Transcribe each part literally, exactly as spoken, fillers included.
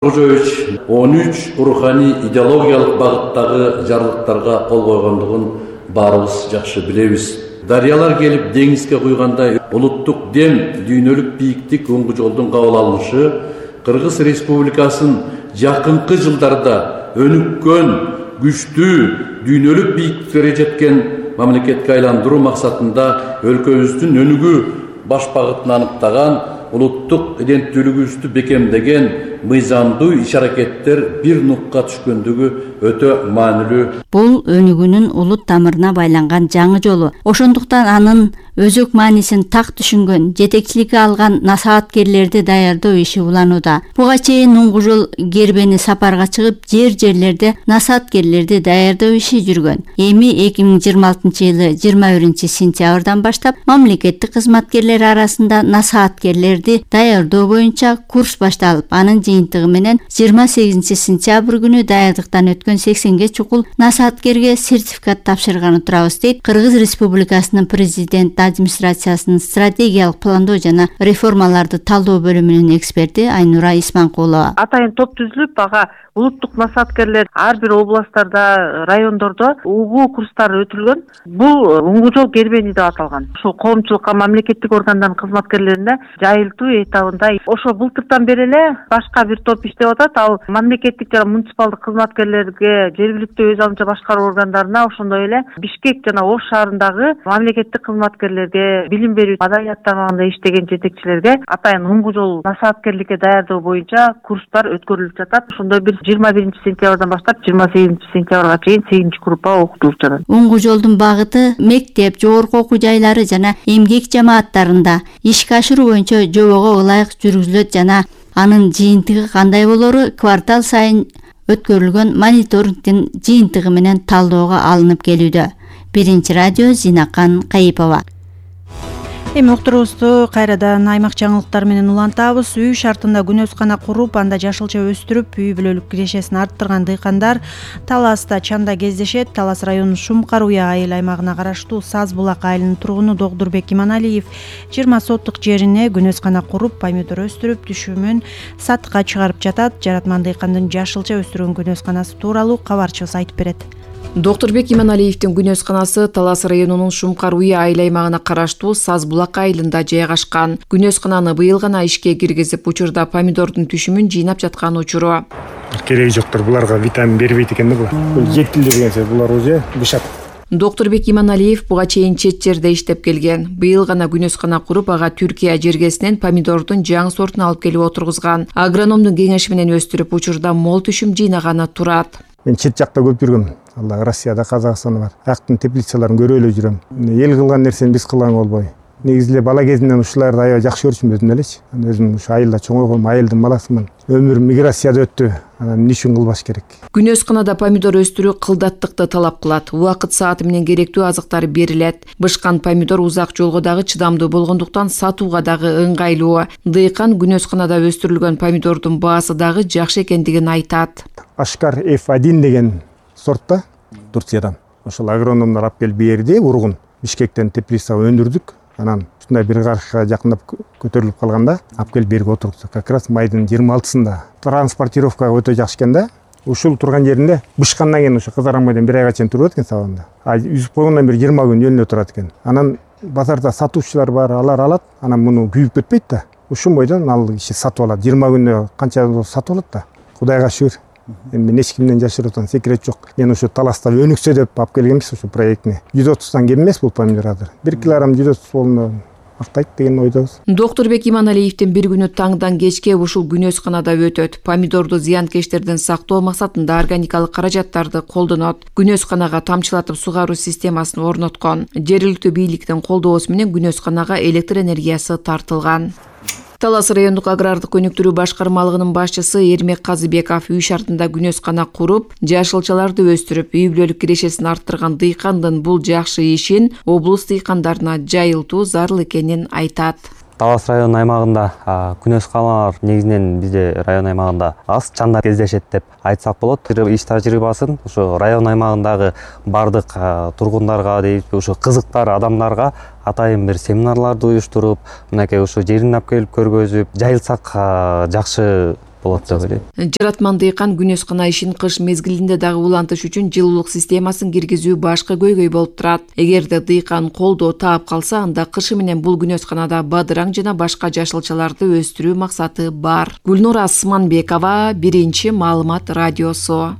Кожоевич он үч руханий идеологиялык багыттагы жарлыктарга кол койгондугун баарыбыз жакшы билебиз. Дарыялар келип деңизге куйгандай улуттук дем, дүйнөлүк бийиктик оңгу жолдун кабыл алынышы Кыргыз Республикасын жакынкы жылдарда өнүккөн, күчтүү, дүйнөлүк бийиктиктерге жеткен мамлекетке айландыруу максатында өлкөбүздүн өнүгүү баш багытын аныктаган, улуттук иденттүүлүгүбүздү бекемдеген мыйзамдуу иш-аракеттер бир нукка түшкөндүгү өтө маанилүү. Бул өнүгүүнүн улут тамырына байланган жаңы жолу. Ошондуктан анын өзөк маанисин так түшүнгөн, жетекчиликке алган насааткерлерди даярдоо иши уланууда. Буга чейин уңгу жол Гербени сапарга чыгып, жер-жерлерде насааткерлерди даярдоо иши жүргөн. Эми эки миң жыйырма алтынчы жылы жыйырма биринчи сентябрдан баштап мамлекеттик кызматкерлер арасында насааткерлерди даярдоо боюнча курс башталып, анын жыйынтыгы менен жыйырма сегизинчи сентябрь күнү даярдыктан өткөн сексенге чукул насааткерге сертификат тапшырганы турабыз, дейт Кыргыз Республикасынын президент администрациясынын стратегиялык пландоо жана реформаларды талдоо бөлүмүнүн эксперти Айнура Исманкулова. Атайын топ түзүлүп, ага улуттук насааткерлер ар бир областтарда, райондордо угуу курстары өтүлгөн. Бул уңгу жол Гербени деп аталган. Ошо коомчулукка, мамлекеттик органдардын кызматкерлерине жайылтуу этабында. Ошо былтыртан бери эле башка бир топ иштеп атат. Ал мамлекеттик жана муниципалдык кызматкерлерге, жергиликтүү өз алынча башкаруу органдарына, ошондой эле Бишкек жана Ош шаарындагы мамлекеттик кызматкерлерге, билим берүү маданият тармагында иштеген жетекчилерге атайын уңгу жол насааткерликке даярдоо боюнча курстар өткөрүлүп жатат. Ошондой бир жыйырма биринчи сентябрдан баштап жыйырма сегизинчи сентябрга чейин сегизинчи группа окутулуп жатат. Уңгу жолдун багыты мектеп, жогорку окуу жайлары жана эмгек жамааттарында ишке ашыруу боюнча жобого ылайык жүргүзүлөт жана анын жыйынтыгы кандай болору квартал сайын өткөрүлгөн мониторингдин жыйынтыгы менен талдоого алынып келүүдө. Биринчи радио Зинакан Кайыпова. Эми уктуруубузду кайрадан аймак жаңылыктары менен улантабыз. Үй шартында күнөөскана куруп, анда жашылча өстүрүп, үй бүлөлүк кирешесин арттырган дыйкандар Таласта чанда кездешет. Талас районунун Шумкар Уя айыл аймагына караштуу Саз Булак айылынын тургуну Догдурбек Иманалиев жыйырма соттук жерине күнөөскана куруп, помидор өстүрүп, түшүмүн сатыкка чыгарып жатат. Жаратман дыйкандын жашылча өстүргөн күнөөсканасы тууралуу кабарчыбыз айтып берет. Догдурбек Иманалиевдин күнөөсканасы Талас районунун Шумкар Уя айыл аймагына караштуу Саз Булак айылында жайгашкан. Күнөөскананы быйыл гана ишке киргизип, учурда помидордун түшүмүн жыйнап жаткан учуру. Кереги жоктор, буларга витамин бербейт экен да булар. Бул жектилди деген сөз, булар уже бышат. Догдурбек Иманалиев буга чейин чет жерде иштеп келген. Быйыл гана күнөөскана куруп, ага Түркия жергесинен помидордун жаңы сортун алып келип отургузган. Агрономдун кеңеши менен өстүрүп, учурда мол түшүм жыйнаганы турат. Мен чет жакта көп жүргөм. Алла Россияда, Казакстанда бар. Актын теплицаларын көрө эле жүрөм. Эл кылган нерсени биз кылган болбой. Негизи эле бала кезимден ушуларды аябай жакшы көрчүмүн өзүм элечи. Өзүм ушу айылда чоңойгом, айылдын баласымын. Өмүрүм миграцияда өттү. Анан эмне үчүн кылбаш керек? Күнөөсканада помидор өстүрүү кылдаттыкты талап кылат. Убакыт сааты менен керектүү азыктар берилет. Бышкан помидор узак жолго дагы чыдамдуу болгондуктан сатууга дагы ыңгайлуу. Дыйкан күнөөсканада өстүрүлгөн помидордун баасы дагы жакшы экендигин айтат. Ашкар эф один деген сортта Турциядан. Ошол агрономдор алып келип берди, ургун Бишкектен теплицага өндүрдүк. Анан ушундай бир карышка жакындап көтөрүлүп калганда алып келип берип отурдук. Как раз майдын жыйырма алтысында. Транспортировкага өтө жакшы экен да. Ушул турган жеринде бышкандан кийин ушу кызарамайдан бир айга чейин туруп экен сабанда. А үзүп койгондон бери жыйырма күн жөнүнө турат экен. Анан базарда сатуучулар бар, алар алат. Анан муну күйүп кетпейт да. Ушул бойдон ал киши сатып алат. жыйырма күндө канча сатып алат да. Кудайга шүгүр. Мен эч кимден жашыруутан секрет жок. Мен ушу Таласта өнүксө деп алып келгенбиз ушу проектни. жүз отуздан кем эмес бул помидор азыр. бир килограмм жүз отуз болду актайт деген ойдобуз. Догдурбек Иманалиевдин бир күнү таңдан кечке ушул күнөөсканада өтөт. Помидорду зыянкечтерден сактоо максатында органикалык каражаттарды колдонот. Күнөөсканага тамчылатып сугаруу системасын орноткон. Жергиликтүү бийликтин колдоосу менен күнөөсканага электр энергиясы тартылган. Талас райондук агрардык өнүктүрүү башкармалыгынын башчысы Эрмек Казыбеков үй шартында күнөөскана куруп, жашылчаларды өстүрүп, үй бүлөлүк кирешесин арттырган дыйкандын бул жакшы ишин облус дыйкандарына жайылтуу зарыл экенин айтат. Талас район аймагында күнөөсканалар негизинен бизде район аймагында аз чанда кездешет деп айтсак болот. Иш тажрыйбасын ушу район аймагындагы бардык тургундарга дейт, ушу кызыктар адамдарга атайын бир семинарларды уюштуруп, мынакей ушу жерин алып келип көргөзүп, жайылсак жакшы болот деп ойлойм. Жаратман дыйкан күнөскана ишин кыш мезгилинде дагы улантыш үчүн жылуулук системасын киргизүү башкы көйгөй болуп турат. Эгерде дыйкан колдоо таап калса, анда кышы менен бул күнөсканада бадыраң жана башка жашылчаларды өстүрүү максаты бар. Гүлнур Асманбекова, Биринчи маалымат радиосу.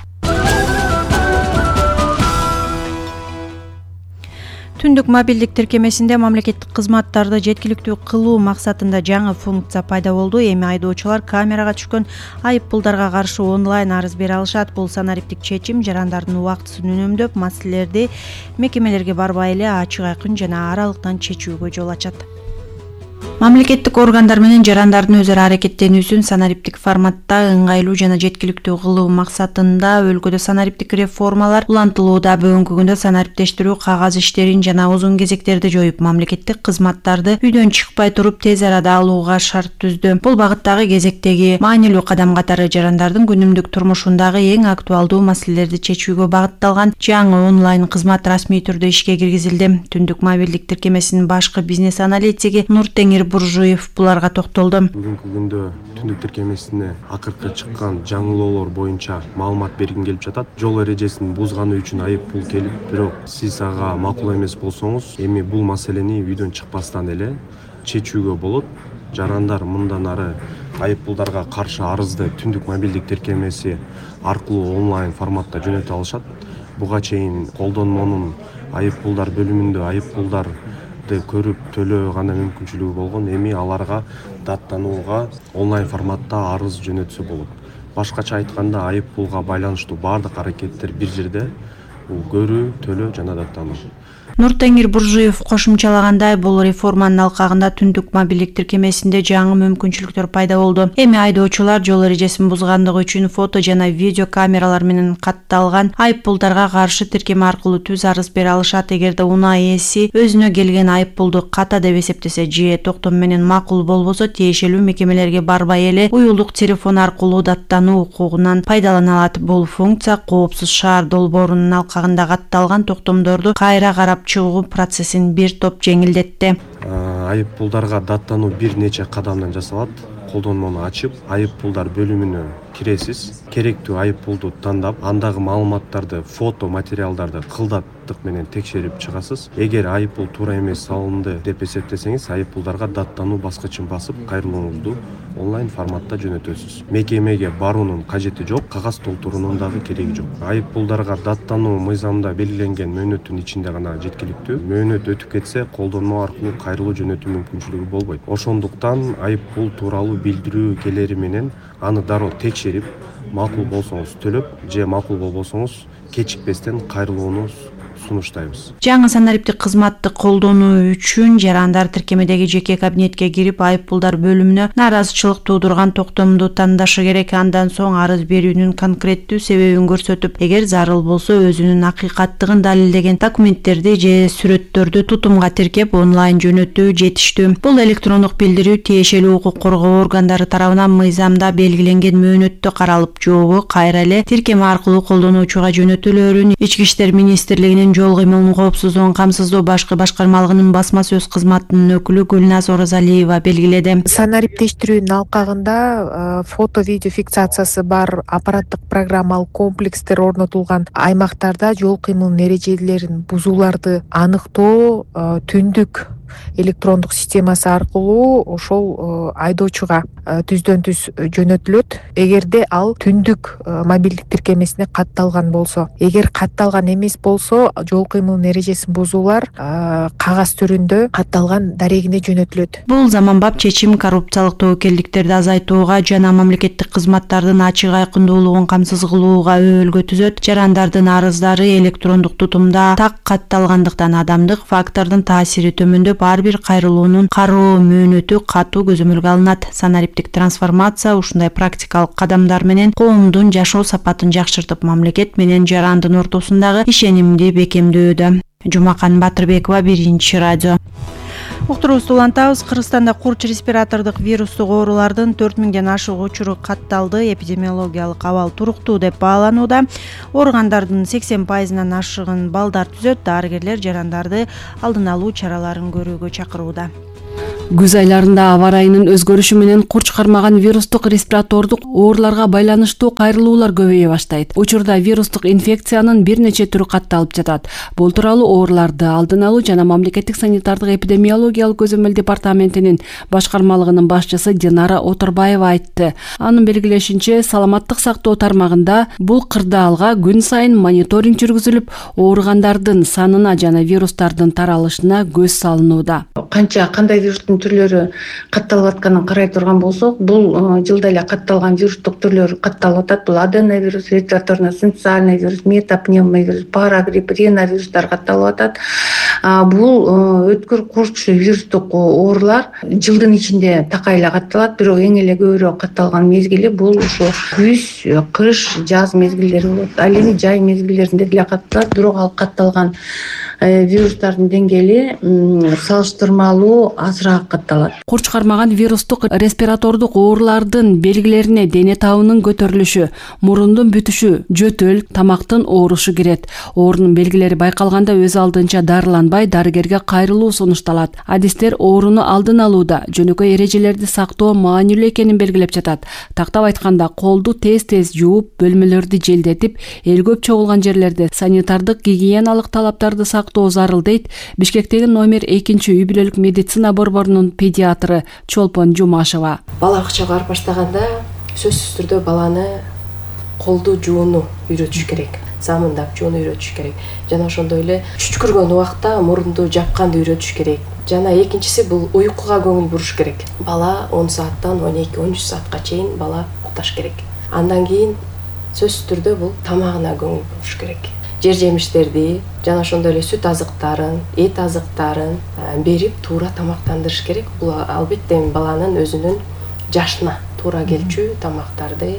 Түндүк мобилдик тиркемесинде мамлекеттик кызматтарды жеткиликтүү кылуу максатында жаңы функция пайда болду. Эми айдоочулар камерага түшкөн айыппулдарга каршы онлайн арыз бере алышат. Бул санариптик чечим жарандардын убактысын үнөмдөп, маселелерди мекемелерге барбай эле ачык айкын жана аралыктан чечүүгө жол ачат. Мамлекеттик органдар менен жарандардын өзара аракеттенүүсүн санариптик форматта ыңгайлуу жана жеткиликтүү кылуу максатында өлкөдө санариптик реформалар улантылууда. Бүгүнкү күндө санариптештирүү кагаз иштерин жана узун кезектерди жоюп, мамлекеттик кызматтарды үйдөн чыкпай туруп тез арада алууга шарт түздү. Бул багыттагы кезектеги маанилүү кадам катары жарандардын күнүмдүк турмушундагы эң актуалдуу маселелерди чечүүгө багытталган жаңы онлайн кызмат расмий түрдө ишке киргизилди. Түндүк мобилдик тиркемесинин башкы бизнес аналитиги Нуртеңир Буржуев буларга токтолду. Бүгүнкү күндө түндүк тиркемесине акыркы чыккан жаңылоолор боюнча маалымат бергим келип жатат. Жол эрежесин бузганы үчүн айып пул келип, бирок сиз ага макул эмес болсоңуз, эми бул маселени үйдөн чыкпастан эле чечүүгө болот. Жарандар мындан ары айып пулдарга каршы арызды түндүк мобилдик тиркемеси аркылуу онлайн форматта жөнөтө алышат. Буга чейин колдонмонун айып пулдар бөлүмүндө айып пулдар көрүп төлөө гана мүмкүнчүлүгү болгон. Эми аларга даттанууга онлайн форматта арыз жөнөтсө болот. Башкача айтканда айып пулга байланыштуу баардык аракеттер бир жерде, бул көрүү, төлөө жана даттануу. Нуртеңир Буржуев кошумчалагандай, бул реформанын алкагында түндүк мобилдик тиркемесинде жаңы мүмкүнчүлүктөр пайда болду. Эми айдоочулар жол эрежесин бузгандыгы үчүн фото жана видео камералар менен катталган айып пулдарга каршы тиркеме аркылуу түз арыз бере алышат. Эгерде унаа ээси өзүнө келген айып пулду ката деп эсептесе же токтом менен макул болбосо, тиешелүү мекемелерге барбай эле уюлдук телефон аркылуу даттануу укугунан пайдалана алат. Бул функция Коопсуз шаар долбоорунун алкагында катталган токтомдорду кайра карап чыгуу процессин бир топ жеңилдетти. Айып пулдарга даттануу бир нече кадамдан жасалат. Колдонмону ачып, айып пулдар бөлүмүнө киресиз. Керектүү айып пулду тандап, андагы маалыматтарды, фото материалдарды кылдаттык менен текшерип чыгасыз. Эгер айып пул туура эмес салынды деп эсептесеңиз, айып пулдарга даттануу баскычын басып, кайрылууңузду онлайн форматта жөнөтөсүз. Мекемеге баруунун кажети жок, кагаз толтуруунун дагы кереги жок. Айып пулдарга даттануу мыйзамда белгиленген мөөнөттүн ичинде гана жеткиликтүү. Мөөнөт өтүп кетсе, колдонмо аркылуу кайрылуу жөнөтүү мүмкүнчүлүгү болбойт. Ошондуктан айып пул тууралуу билдирүү келери менен аны дароо текшерип, макул болсоңуз төлөп, же макул болбосоңуз кечикпестен кайрылууну сунуштайбыз. Жаңы санариптик кызматты колдонуу үчүн жарандар тиркемедеги жеке кабинетке кирип, айып пулдар бөлүмүнө нааразычылык туудурган токтомду тандашы керек. Андан соң арыз берүүнүн конкреттүү себебин көрсөтүп, эгер зарыл болсо өзүнүн акыйкаттыгын далилдеген документтерди же сүрөттөрдү тутумга тиркеп онлайн жөнөтүү жетиштүү. Бул электрондук билдирүү тиешелүү укук коргоо органдары тарабынан мыйзамда белгиленген мөөнөттө каралып, жобу кайра эле тиркеме аркылуу колдонуучуга жөнөтүлөөрүн Ички иштер министрлигинин жол кыймылынын коопсуздугун камсыздоо башкы башкармалыгынын басма сөз кызматынын өкүлү Гүлназ Оразалиева белгиледи. Санариптештирүүнүн алкагында фото видео фиксациясы бар аппараттык программалык комплекстер орнотулган аймактарда жол кыймылынын эрежелерин бузууларды аныктоо түндүк электрондук системасы аркылуу ошол айдоочуга түздөн түз жөнөтүлөт. Эгерде ал түндүк мобилдик тиркемесине катталган болсо, эгер катталган эмес болсо, жол кыймылынын эрежесин бузуулар кагаз түрүндө катталган дарегине жөнөтүлөт. Бул заманбап чечим коррупциялык тобокелдиктерди азайтууга жана мамлекеттик кызматтардын ачык айкындуулугун камсыз кылууга өбөлгө түзөт. Жарандардын арыздары электрондук тутумда так катталгандыктан адамдык фактордун таасири төмөндөп, ар бир кайрылуунун кароо мөөнөтү катуу көзөмөлгө алынат. Санариптик трансформация ушундай практикалык кадамдар менен коомдун жашоо сапатын жакшыртып, мамлекет менен жарандын ортосундагы ишенимди бекемдөөдө. Жумакан Батырбекова, Биринчи радио. Уктуруубузду улантабыз. Кыргызстанда курч респиратордук вирустук оорулардын төрт миңден ашык учуру катталды. Эпидемиологиялык абал туруктуу деп бааланууда. Ооругандардын сексен пайызынан ашыгын балдар түзөт. Дарыгерлер жарандарды алдын алуу чараларын көрүүгө чакырууда. Күз айларында аба ырайынын өзгөрүшү менен курч кармаган вирустук респиратордук ооруларга байланыштуу кайрылуулар көбөйө баштайт. Учурда вирустук инфекциянын бир нече түрү катталып жатат. Бул тууралуу ооруларды алдын алуу жана мамлекеттик санитардык эпидемиологиялык көзөмөл департаментинин башкармалыгынын башчысы Динара Отурбаева айтты. Анын белгилешинче, саламаттык сактоо тармагында бул кырдаалга күн сайын мониторинг жүргүзүлүп, ооругандардын санына жана вирустардын таралышына көз салынууда. Канча кандай вирустун түрлөрү катталып атканын карай турган болсок, бул жылда эле катталган вирустук түрлөр катталып атат. Бул аденовирус, респираторно-синциальный вирус, метапневмовирус, парагрипп, риновирустар катталып атат. Бул өткүр курч вирустук оорулар жылдын ичинде такай эле катталат, бирок эң эле көбүрөөк катталган мезгили бул ушу күз, кыш, жаз мезгилдери болот. Ал эми жай мезгилдеринде деле катталат, бирок ал катталган вирустардын деңгээли салыштырмалуу азыраак катталат. Курч кармаган вирустук респиратордук оорулардын белгилерине дене табынын көтөрүлүшү, мурундун бүтүшү, жөтөл, тамактын оорушу кирет. Оорунун белгилери байкалганда өз алдынча дарыланбай, дарыгерге кайрылуу сунушталат. Адистер ооруну алдын алууда жөнөкөй эрежелерди сактоо маанилүү экенин белгилеп жатат. Тактап айтканда, колду тез-тез жууп, бөлмөлөрдү желдетип, эл көп чогулган жерлерде санитардык гигиеналык талаптарды сактоо зарыл дейт Бишкектеги номер экинчи үй бүлөлүк медицина борборунун педиатры Чолпон Жумашева. Бала бакчага барып баштаганда сөзсүз түрдө баланы колду жууну үйрөтүш керек, замындап жууну үйрөтүш керек. Жана ошондой эле чүчкүргөн убакта мурунду жапканды үйрөтүш керек. Жана экинчиси бул уйкуга көңүл буруш керек. Бала он сааттан он эки он үч саатка чейин бала укташ керек. Андан кийин сөзсүз түрдө бул тамагына көңүл буруш керек. Жер жемиштерди жана ошондой эле сүт азыктарын, эт азыктарын берип туура тамактандырыш керек. Бул албетте баланын өзүнүн жашына туура келчү тамактарды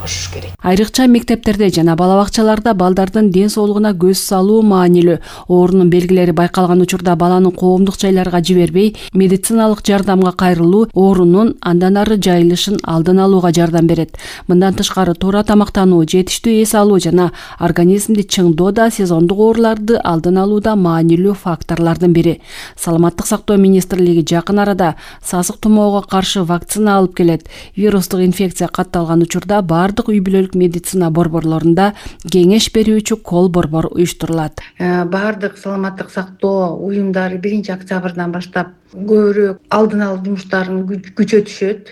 кошуш керек. Айрыкча мектептерде жана бала бакчаларда балдардын ден соолугуна көз салуу маанилүү. Оорунун белгилери байкалган учурда баланы коомдук жайларга жибербей, медициналык жардамга кайрылуу оорунун андан ары жайылышын алдын алууга жардам берет. Мындан тышкары туура тамактануу, жетиштүү эс алуу жана организмди чыңдоо да сезондук ооруларды алдын алууда маанилүү факторлордун бири. Саламаттык сактоо министрлиги жакын арада сасык тумоого каршы вакцина алып келет. Вирустук инфекция катталган учурда бардык үй бүлөлүк медицина борборлорунда кеңеш берүүчү кол борбор уюштурулат. Бардык саламаттык сактоо уюмдары биринчи октябрдан баштап көбүрөөк алдын алуу жумуштарын күчөтүшөт.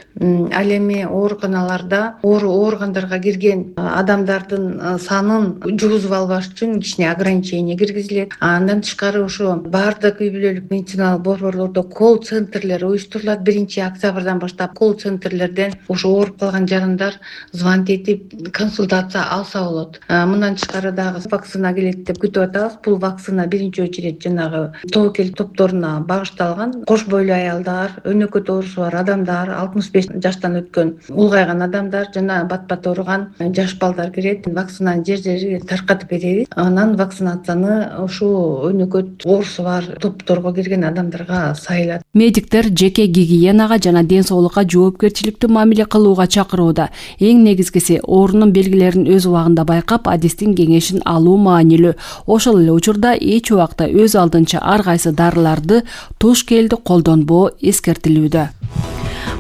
Ал эми ооруканаларда ооругандарга кирген адамдардын санын жугузуп албаш үчүн кичине ограничение киргизилет. Андан тышкары ошо бардык үй бүлөлүк медициналык борборлордо кол центрлер уюштурулат. биринчи октябрдан баштап кол центрлерден ошо ооруп калган жарандар звонить этип консультация алса болот. Мындан тышкары дагы вакцина келет деп күтүп атабыз. Бул вакцина биринчи очередь жанагы тобокел топторуна багышталган. Кош бойлуу аялдар, өнөкөт оорусу бар адамдар, алтымыш беш жаштан өткөн улгайган адамдар жана бат-бат ооруган жаш балдар кирет. Вакцинаны жер-жерге таркатып беребиз. Анан вакцинацияны ушул өнөкөт оорусу бар топторго кирген адамдарга сайылат. Медиктер жеке гигиенага жана ден соолукка жоопкерчиликтүү мамиле кылууга чакырууда. Эң негизгиси оорунун белгилерин өз убагында байкап, адистин кеңешин алуу маанилүү. Ошол эле учурда эч убакта өз алдынча ар кайсы дарыларды, туш келди колдонбоо эскертилүүдө.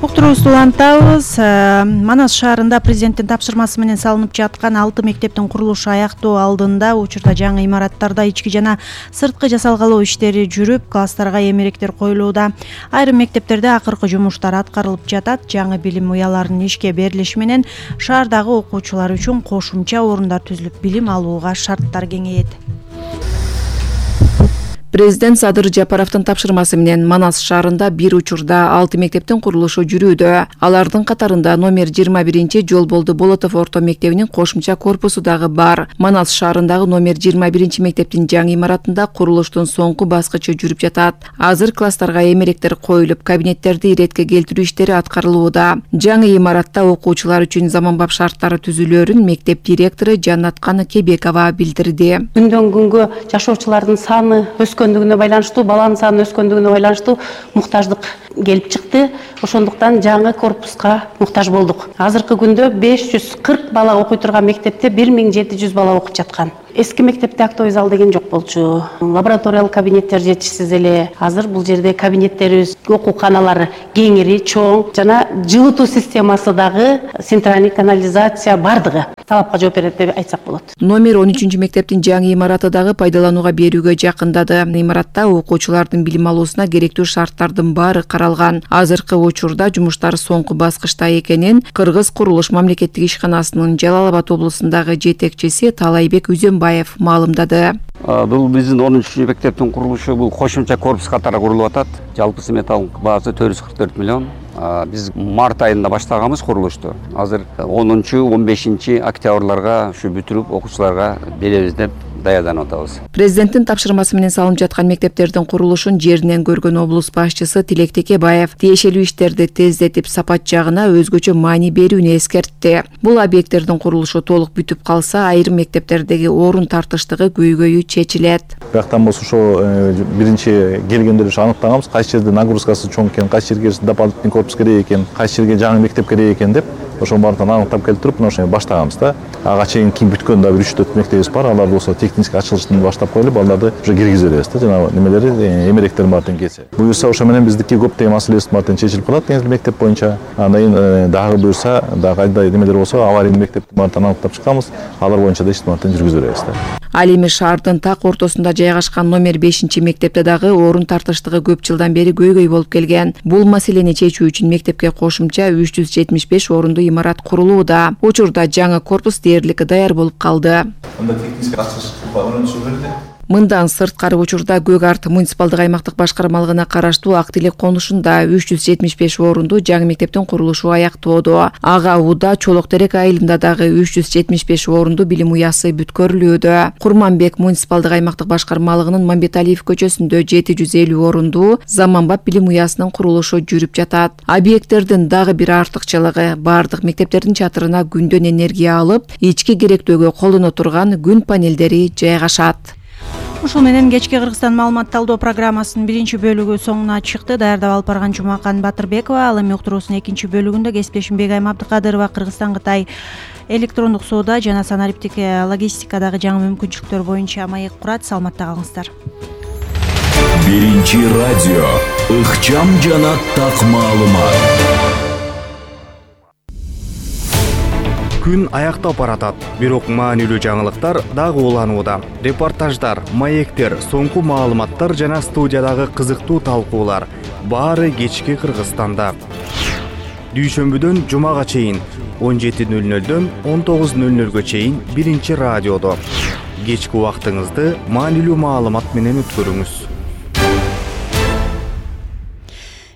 Уктуруубузду улантабыз. Манас шаарында президенттин тапшырмасы менен салынып жаткан алты мектептин курулушу аяктоо алдында учурда жаңы имараттарда ички жана сырткы жасалгалоо иштери жүрүп, класстарга эмеректер коюлууда. Айрым мектептерде акыркы жумуштар аткарылып жатат. Жаңы билим уяларынын ишке берилиши менен шаардагы окуучулар үчүн кошумча орундар түзүлүп, билим алууга шарттар кеңейет. Президент Садыр Жапаровдун тапшырмасы менен Манас шаарында бир учурда алты мектептин курулушу жүрүүдө. Алардын катарында номер жыйырма биринчи Жолболду Болотов орто мектебинин кошумча корпусу дагы бар. Манас шаарындагы номер жыйырма биринчи мектептин жаңы имаратында курулуштун соңку баскычы жүрүп жатат. Азыр класстарга эмеректер коюлуп, кабинеттерди иретке келтирүү иштери аткарылууда. Жаңы имаратта окуучулар үчүн заманбап шарттары түзүлөөрүн мектеп директору Жаннаткан Кебекова билдирди. Күндөн күнгө жашоочулардын саны өскөн өскөндүгүнө байланыштуу, баланын саны өскөндүгүнө байланыштуу муктаждык келип чыкты. Ошондуктан жаңы корпуска муктаж болдук. Азыркы күндө беш жүз кырк бала окуй турган мектепте бир миң жети жүз бала окуп жаткан. Эски мектепте актовый зал деген жок болчу. Лабораториялык кабинеттер жетишсиз эле. Азыр бул жерде кабинеттерибиз, окууканалар кеңири, чоң жана жылытуу системасы дагы, центральный канализация бардыгы талапка жооп берет деп айтсак болот. Номер он үчүнчү мектептин жаңы имараты дагы пайдаланууга берүүгө жакындады. Имаратта окуучулардын билим алуусуна керектүү шарттардын баары каралган. Азыркы учурда жумуштар соңку баскычта экенин Кыргыз курулуш мамлекеттик ишканасынын Жалал Абад облусундагы жетекчиси Талайбек Үзөнбаев маалымдады. Бул биздин он үчүнчү мектептин курулушу бул кошумча корпус катары курулуп атат. Жалпы сметалык баасы төрт жүз кырк төрт миллион. Биз март айында баштаганбыз курулушту. Азыр онунчу он бешинчи октябрларга ушу бүтүрүп окуучуларга беребиз деп даярданып атабыз. Президенттин тапшырмасы менен салынып жаткан мектептердин курулушун жеринен көргөн облус башчысы Тилек Текебаев тиешелүү иштерди тездетип сапат жагына өзгөчө маани берүүнү эскертти. Бул объекттердин курулушу толук бүтүп калса, айрым мектептердеги орун тартыштыгы көйгөйү чечилет. Бияктан болсо ошо биринчи келгенде ушу аныктаганбыз, кайсы жерде нагрузкасы чоң экен, кайсы жерге дополнительный корпус керек экен, кайсы жерге жаңы мектеп керек экен деп ошонун баарын аныктап келип туруп, ошо баштаганбыз да. Ага чейин кийин бүткөн да бир үч төрт мектебибиз бар. Алар болсо техник ачылыштан баштап коюлуп, балдарды уже киргизип беребиз да. Жана немелери, эмеректер баарын келсе. Буюрса ошо менен биздики көптөгөн маселебиз баарын чечилип калат эми мектеп боюнча. Андан кийин дагы буюрса, дагы кайда немелер болсо, аварийный мектептин баарын аныктап чыкканбыз. Алар боюнча да иштин баарын жүргүзүп беребиз да. Ал эми шаардын так ортосунда жайгашкан номер бешинчи мектепте дагы орун тартыштыгы көп жылдан бери көйгөй болуп келген. Бул маселени чечүү үчүн мектепке кошумча үч жүз жетимиш беш орундуу имарат курулууда. Учурда жаңы корпус дээрлик даяр болуп калды. Анда техник ачылыш көрүнүшү берди. Мындан сырткары учурда Көк Арт муниципалдык аймактык башкармалыгына караштуу Актилек конушунда үч жүз жетимиш беш орундуу жаңы мектептин курулушу аяктоодо. Ага Ууда Чолок Терек айылында дагы үч жүз жетимиш беш орундуу билим уясы бүткөрүлүүдө. Курманбек муниципалдык аймактык башкармалыгынын Мамбеталиев көчөсүндө жети жүз элүү орундуу заманбап билим уясынын курулушу жүрүп жатат. Объекттердин дагы бир артыкчылыгы бардык мектептердин чатырына күндөн энергия алып, ички керектөөгө колдоно турган күн панелдери жайгашат. Ушул менен кечки Кыргызстан маалымат талдоо программасынын биринчи бөлүгү соңуна чыкты. Даярдап алып барган Жумакан Батырбекова, ал эми уктуруусунун экинчи бөлүгүндө кесиптешим Бегайым Абдыкадырова Кыргызстан Кытай электрондук соода жана санариптик логистикадагы жаңы мүмкүнчүлүктөр боюнча маек курат. Саламатта калыңыздар. Биринчи радио ыкчам жана так маалымат. Күн аяктап баратат, бирок маанилүү жаңылыктар дагы уланууда. Репортаждар, маектер, соңку маалыматтар жана студиядагы кызыктуу талкуулар баары кечки Кыргызстанда. Дүйшөмбүдөн жумага чейин он жети нөл нөлдөн он тогуз нөл нөлгө чейин биринчи радиодо. Кечки убактыңызды маанилүү маалымат менен өткөрүңүз.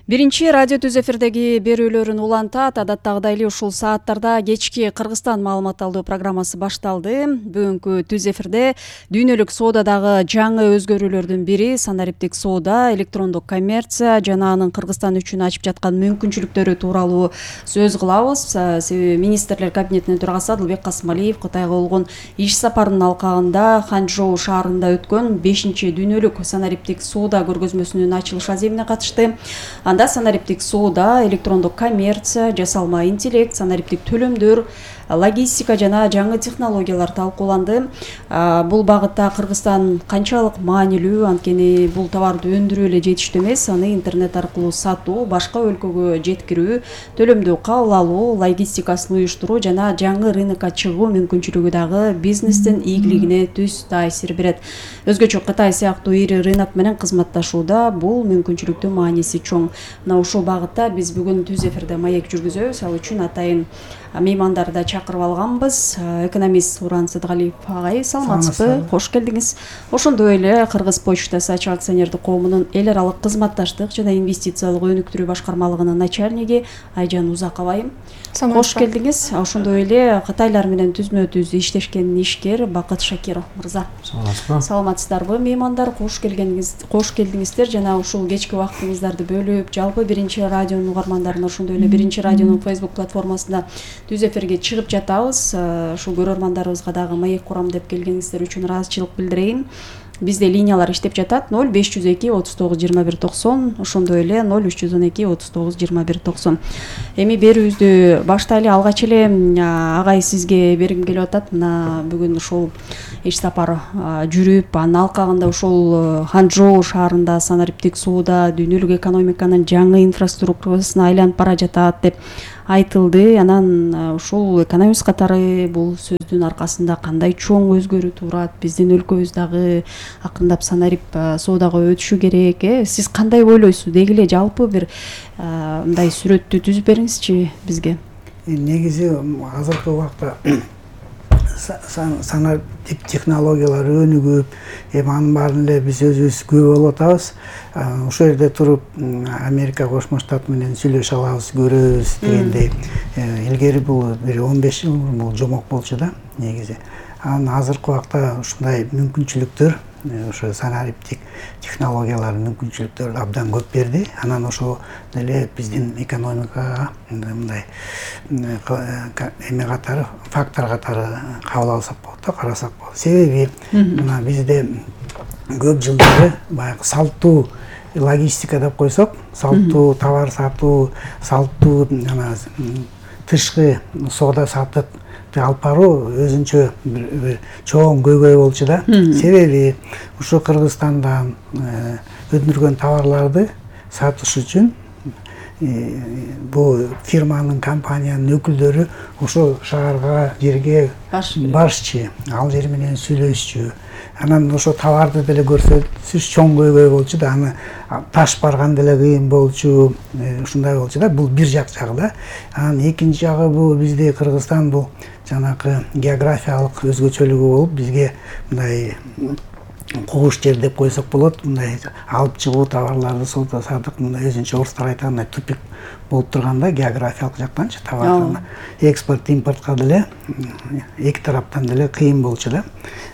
Биринчи радио түз эфирдеги берүүлөрүн улантат. Адаттагыдай эле ушул сааттарда кечки Кыргызстан маалымат алуу программасы башталды. Бүгүнкү түз эфирде дүйнөлүк соодадагы жаңы өзгөрүүлөрдүн бири санариптик соода, электрондук коммерция жана анын Кыргызстан үчүн ачып жаткан мүмкүнчүлүктөрү тууралуу сөз кылабыз. Себеби министрлер кабинетинин төрагасы Адылбек Касымалиев Кытайга болгон иш сапарынын алкагында Ханчжоу шаарында өткөн бешинчи дүйнөлүк санариптик соода көргөзмөсүнүн ачылыш аземине катышты. Анда санариптик соода, электрондук коммерция, жасалма интеллект, санариптик төлөмдөр, логистика жана жаңы технологиялар талкууланды. Бул багытта Кыргызстан канчалык маанилүү, анткени бул товарды өндүрүү эле жетиштүү эмес, аны интернет аркылуу сатуу, башка өлкөгө жеткирүү, төлөмдү кабыл алуу, логистикасын уюштуруу жана жаңы рынокко чыгуу мүмкүнчүлүгү дагы бизнестин ийгилигине түз таасир берет. Өзгөчө Кытай сыяктуу ири рынок менен кызматташууда бул мүмкүнчүлүктүн мааниси чоң. Мына ушул багытта биз бүгүн түз эфирде маек жүргүзөбүз. Ал үчүн атайын меймандарды чакырып алганбыз. Экономист Уран Сыдыгалиев агай, саламатсызбы? Кош келдиңиз. Ошондой эле Кыргыз почтасы ачык акционердик коомунун эл аралык кызматташтык жана инвестициялык өнүктүрүү башкармалыгынын начальниги Айжан Узакова. Кош келдиңиз. Ошондой эле Кытайлар менен түзмө түз иштешкен ишкер Бакыт Шакиров мырза. Саламатсызбы? Саламатсыздарбы меймандар? Кош келгениңиз, кош келдиңиздер жана ушул кечки убактыңыздарды бөлүп, жалпы биринчи радионун угармандарына, ошондой эле биринчи радионун Facebook платформасында түз эфирге чыгып жатабыз. Ушул көрөрмандарыбызга дагы маек курам деп келгениңиздер үчүн ыраазычылык билдирейин. бизде линиялар иштеп жатат. ноль беш жүз эки отуз тогуз жыйырма бир токсон, ошондой эле ноль үч жүз он эки отуз тогуз жыйырма бир токсон. Эми берүүбүздү баштайлы. Алгач эле агай сизге бергим келип атат. Мына бүгүн ушул иш сапар жүрүп, анын алкагында ушул Ханчжоу шаарында санариптик сууда дүйнөлүк экономиканын жаңы инфраструктурасына айланып бара жатат деп айтылды. Анан ушул экономист катары бул сөздүн аркасында кандай чоң өзгөрүү турат? Биздин өлкөбүз дагы акырындап санарип соодага өтүшү керек. Э сиз кандай ойлойсуз? Деги эле жалпы бир мындай сүрөттү түзүп бериңизчи бизге. Негизи азыркы убакта санариптик технологиялар өнүгүп, эми анын баарын эле биз өзүбүз көрүп болуп атабыз. Ошол жерде туруп Америка Кошмо Штат менен сүйлөшө алабыз, көрөбүз дегендей. Илгери бул бир он беш жыл бул жомок болчу да негизи. Анан азыркы убакта ушундай мүмкүнчүлүктөр, ошо санариптик технологиялар мүмкүнчүлүктөр абдан көп берди. Анан ошо деле биздин экономикага мындай эме катары, фактор катары кабыл алсак болот да, карасак болот. Себеби мына бизде көп жылдары баягы салттуу логистика деп койсок, салттуу товар сатуу, салттуу жана тышкы соода саттык алып баруу өзүнчө бир чоң көйгөй болчу да. Себеби ушу Кыргызстандан өндүргөн товарларды сатыш үчүн бул фирманын, компаниянын өкүлдөрү ошо шаарга, жерге барышчы, ал жер менен сүйлөшчү. Анан ошо товарды деле көрсөтүш чоң көйгөй болчу да, аны таш барган деле кыйын болчу, ушундай болчу да. Бул бир жак жагы да. Анан экинчи жагы бул бизде Кыргызстан бул жанакы географиялык өзгөчөлүгү болуп, бизге мындай кугуш жер деп койсок болот, мындай алып чыгуу товарларды соода саттык мындай өзүнчө орустар айткандай тупик болуп турганда географиялык жактанчы товарды экспорт импортко деле эки тараптан деле кыйын болчу да.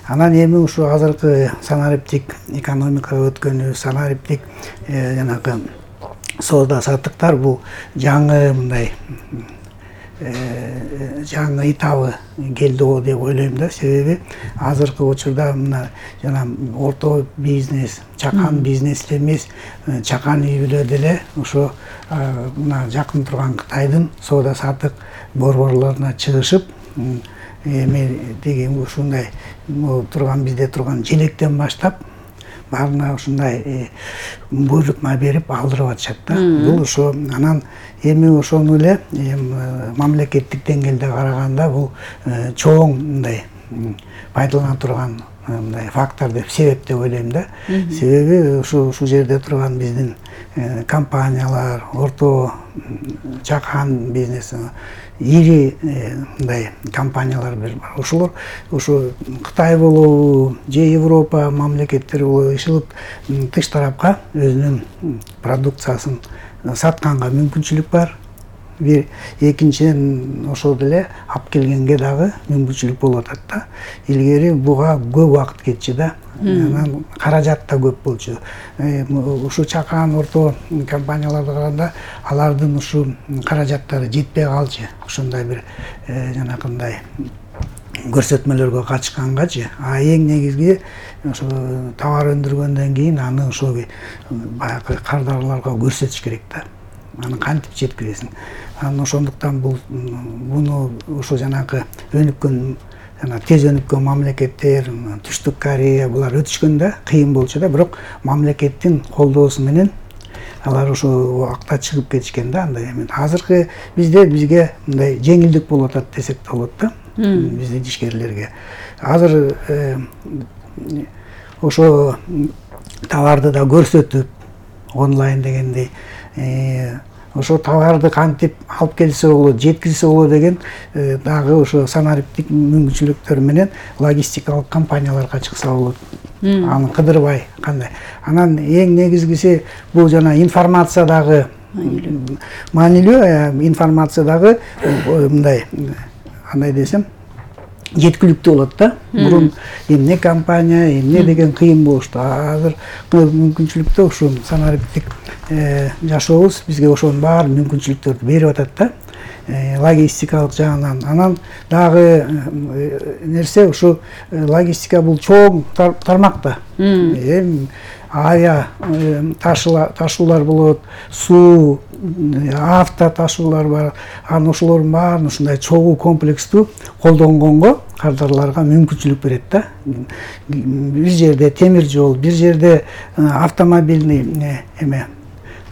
Анан эми ушу азыркы санариптик экономикага өткөнү, санариптик жанагы соода саттыктар бул жаңы мындай жаңы этабы келди го деп ойлойм да. Себеби азыркы учурда мына жана орто бизнес, чакан бизнес эмес, чакан үй бүлө деле ошо мына жакын турган Кытайдын соода саттык борборлоруна чыгышып, эми деген ушундай турган бизде турган желектен баштап баарына ушундай буйрук берип алдырып атышат да. Бул ошо анан эми ошону эле мамлекеттик деңгээлде караганда бул чоң мындай пайдалана турган мындай фактор деп, себеп деп ойлойм да. Себеби ушу ушул жерде турган биздин компаниялар, орто чакан бизнес, ири мындай компаниялар бар. Ошолор ушу Кытай болобу же Европа мамлекеттери болобу ишилип тыш тарапка өзүнүн продукциясын сатканга мүмкүнчүлүк бар. Бир экинчиден ошол деле алып келгенге дагы мүмкүнчүлүк болуп атат да. Илгери буга көп убакыт кетчү да. Анан каражат да көп болчу. Ушу чакан орто компанияларга караганда алардын ушу каражаттары жетпей калчу. Ошондой бир жанакындай көрсөтмөлөргө катышкангачы. А эң негизги ошо товар өндүргөндөн кийин аны ошо баягы кардарларга көрсөтүш керек да. Аны кантип жеткиресиң. Анан ошондуктан бул буну ошо жанагы өнүккөн жана тез өнүккөн мамлекеттер, Түштүк Корея булар өтүшкөндө кыйын болчу да, бирок мамлекеттин колдоосу менен алар ошо убакта чыгып кетишкен да. Андай эми азыркы бизде бизге мындай жеңилдик болуп атат десек да болот да. Биздин ишкерлерге. Азыр ошо товарды да көрсөтүп онлайн дегендей ошо товарды кантип алып келсе болот, жеткирсе болот деген дагы ошо санариптик мүмкүнчүлүктөр менен логистикалык компанияларга чыкса болот. Аны кыдырбай кандай. Анан эң негизгиси бул жана информация дагы маанилүү, информация дагы мындай андай десем жеткиликтүү болот да. Мурун эмне компания, эмне деген кыйын болушту. Азыр мүмкүнчүлүктө ушу санариптик жашообуз бизге ошонун баары мүмкүнчүлүктөрдү берип атат да. логистикалык жагынан. Анан дагы нерсе ушу логистика бул чоң тармак да. Эми ая ташуулар болот, суу, авто ташуулар бар. Анан ошолордун баарын ушундай чогуу комплекстүү колдонгонго кардарларга мүмкүнчүлүк берет да. Бир жерде темир жол, бир жерде автомобильный эме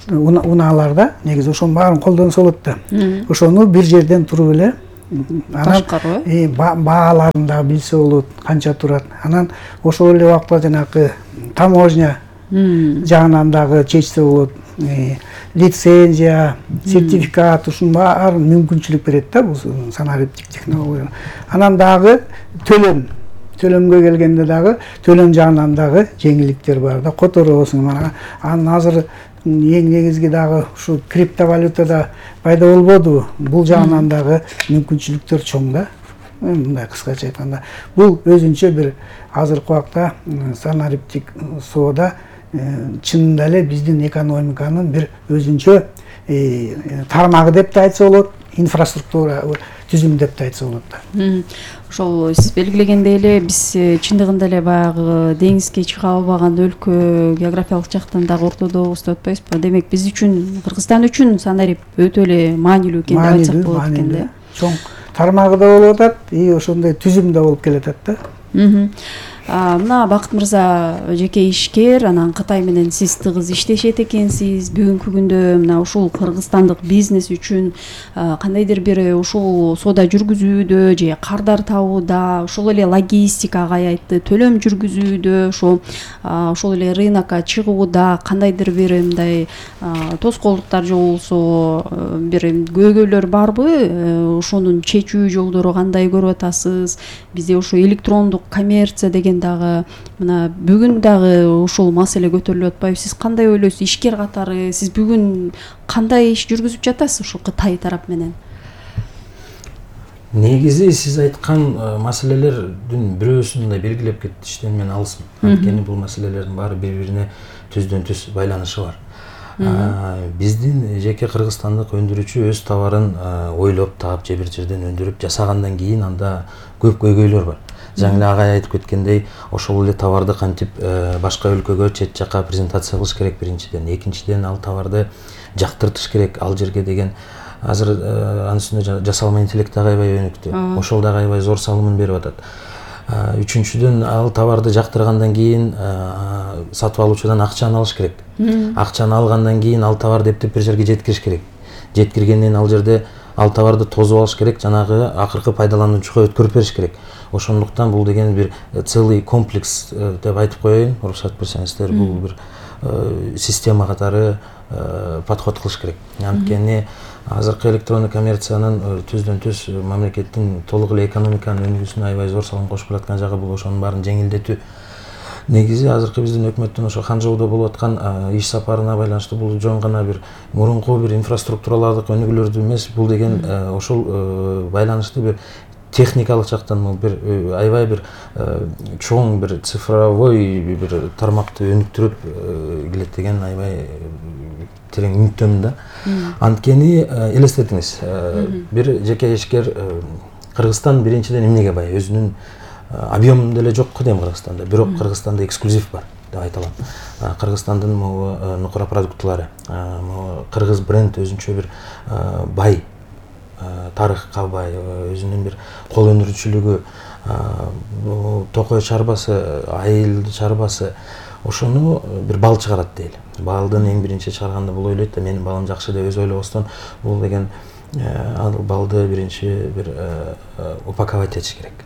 унааларда негизи ошонун баарын колдонсо болот да. Ошону бир жерден туруп эле башкаруу, бааларын да билсе болот, канча турат. Анан ошол эле убакта жанагы таможня жагынан дагы чечсе болот. Лицензия, сертификат, ушунун баарын мүмкүнчүлүк берет да бул санариптик технология. Анан дагы төлөм төлөмгө келгенде дагы төлөм жагынан дагы жеңилдиктер бар да. Которобосуң. Анан азыр эң негизги дагы ушу криптовалютада пайда болбодубу? Бул жагынан дагы мүмкүнчүлүктөр чоң да. Мындай кыскача айтканда, бул өзүнчө бир азыркы убакта санариптик соода чынында эле биздин экономиканын бир өзүнчө тармагы деп да айтса болот, инфраструктура түзүм деп да айтса болот да. Ошол сиз белгилегендей эле биз чындыгында эле баягы деңизге чыга албаган өлкө географиялык жактан дагы ортодобуз деп атпайбызбы? Демек биз үчүн, Кыргызстан үчүн санарип өтө эле маанилүү экен деп айтсак болот экен да. Чоң тармагы да болуп атат, и ошондой түзүм да болуп келатат да. Мына Бакыт мырза жеке ишкер, анан Кытай менен сиз тыгыз иштешет экенсиз. Бүгүнкү күндө мына ушул кыргызстандык бизнес үчүн кандайдыр бир ушул соода жүргүзүүдө же кардар табууда, ошол эле логистикага аятты төлөм жүргүзүүдө, ошол ошол эле рынокко чыгууда кандайдыр бир мындай тоскоолдуктар же болбосо бир көйгөйлөр барбы? Ошонун чечүү жолдору кандай көрүп атасыз? Бизде ошо электрондук коммерция деген дагы мына бүгүн дагы ушул маселе көтөрүлүп атпайбы? Сиз кандай ойлойсуз? Ишкер катары сиз бүгүн кандай иш жүргүзүп жатасыз ушул Кытай тарап менен? Негизи сиз айткан маселелердин бирөөсүн мындай белгилеп кетиштен мен алысмын. Анткени бул маселелердин баары бири-бирине түздөн түз байланышы бар. Биздин жеке кыргызстандык өндүрүүчү өз товарын ойлоп таап же бир жерден өндүрүп жасагандан кийин анда көп көйгөйлөр бар. Жаңы эле агай айтып кеткендей, ошол эле товарды кантип башка өлкөгө, чет жакка презентация кылыш керек биринчиден. Экинчиден ал товарды жактыртыш керек ал жерге деген. Азыр анын үстүнө жасалма интеллект дагы аябай өнүктү. Ошол дагы аябай зор салымын берип атат. Үчүнчүдөн ал товарды жактыргандан кийин сатып алуучудан акчаны алыш керек. Акчаны алгандан кийин ал товарды эптеп бир жерге жеткириш керек. Жеткиргенден ал жерде ал товарды тозуп алыш керек, жанагы акыркы пайдалануучуга өткөрүп бериш керек. Ошондуктан бул деген бир целый комплекс деп айтып коеюн, уруксат берсеңиздер, бул бир система катары подход кылыш керек. Анткени азыркы электрондук коммерциянын түздөн түз мамлекеттин толук эле экономиканын өнүгүүсүнө аябай зор салым кошуп келаткан жагы бул ошонун баарын жеңилдетүү. Негизи азыркы биздин өкмөттүн ошо Ханчжоудо болуп аткан иш сапарына байланыштуу бул жөн гана бир мурунку бир инфраструктуралардык өнүгүүлөрдү эмес, бул деген ошол байланыштуу бир техникалык жактан бир аябай бир чоң бир цифровой бир тармакты өнүктүрүп келет деген аябай терең үмүттөмүн да. Анткени элестетиңиз, бир жеке ишкер Кыргызстан биринчиден эмнеге бай? Өзүнүн объем деле жок го дейм Кыргызстанда. Бирок Кыргызстанда эксклюзив бар деп айта алам. Кыргызстандын могу нукура продуктулары, могу кыргыз бренд өзүнчө бир бай тарыхка бай, өзүнүн бир кол өнүрүүчүлүгү, токой чарбасы, айыл чарбасы, ошону бир бал чыгарат дейли. Балдын эң биринчи чыгарганда бул ойлойт да, менин балым жакшы деп өзү ойлобостон, бул деген ал балды биринчи бир упаковать этиш керек.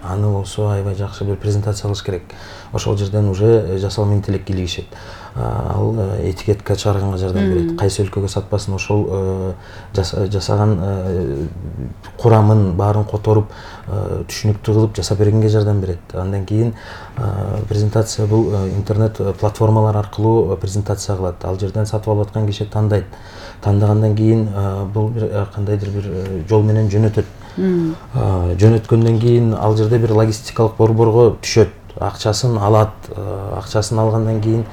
Аны болсо аябай жакшы бир презентация кылыш керек. Ошол жерден уже жасалма интеллект кийлигишет. Ал этикетка чыгарганга жардам берет. Кайсы өлкөгө сатпасын, ошол жасаган курамын баарын которуп, түшүнүктүү кылып жасап бергенге жардам берет. Андан кийин презентация бул интернет платформалар аркылуу презентация кылат. Ал жерден сатып алып аткан киши тандайт. Тандагандан кийин бул бир кандайдыр бир жол менен жөнөтөт. Жөнөткөндөн кийин ал жерде бир логистикалык борборго түшөт. акчасын алат, акчасын алгандан кийин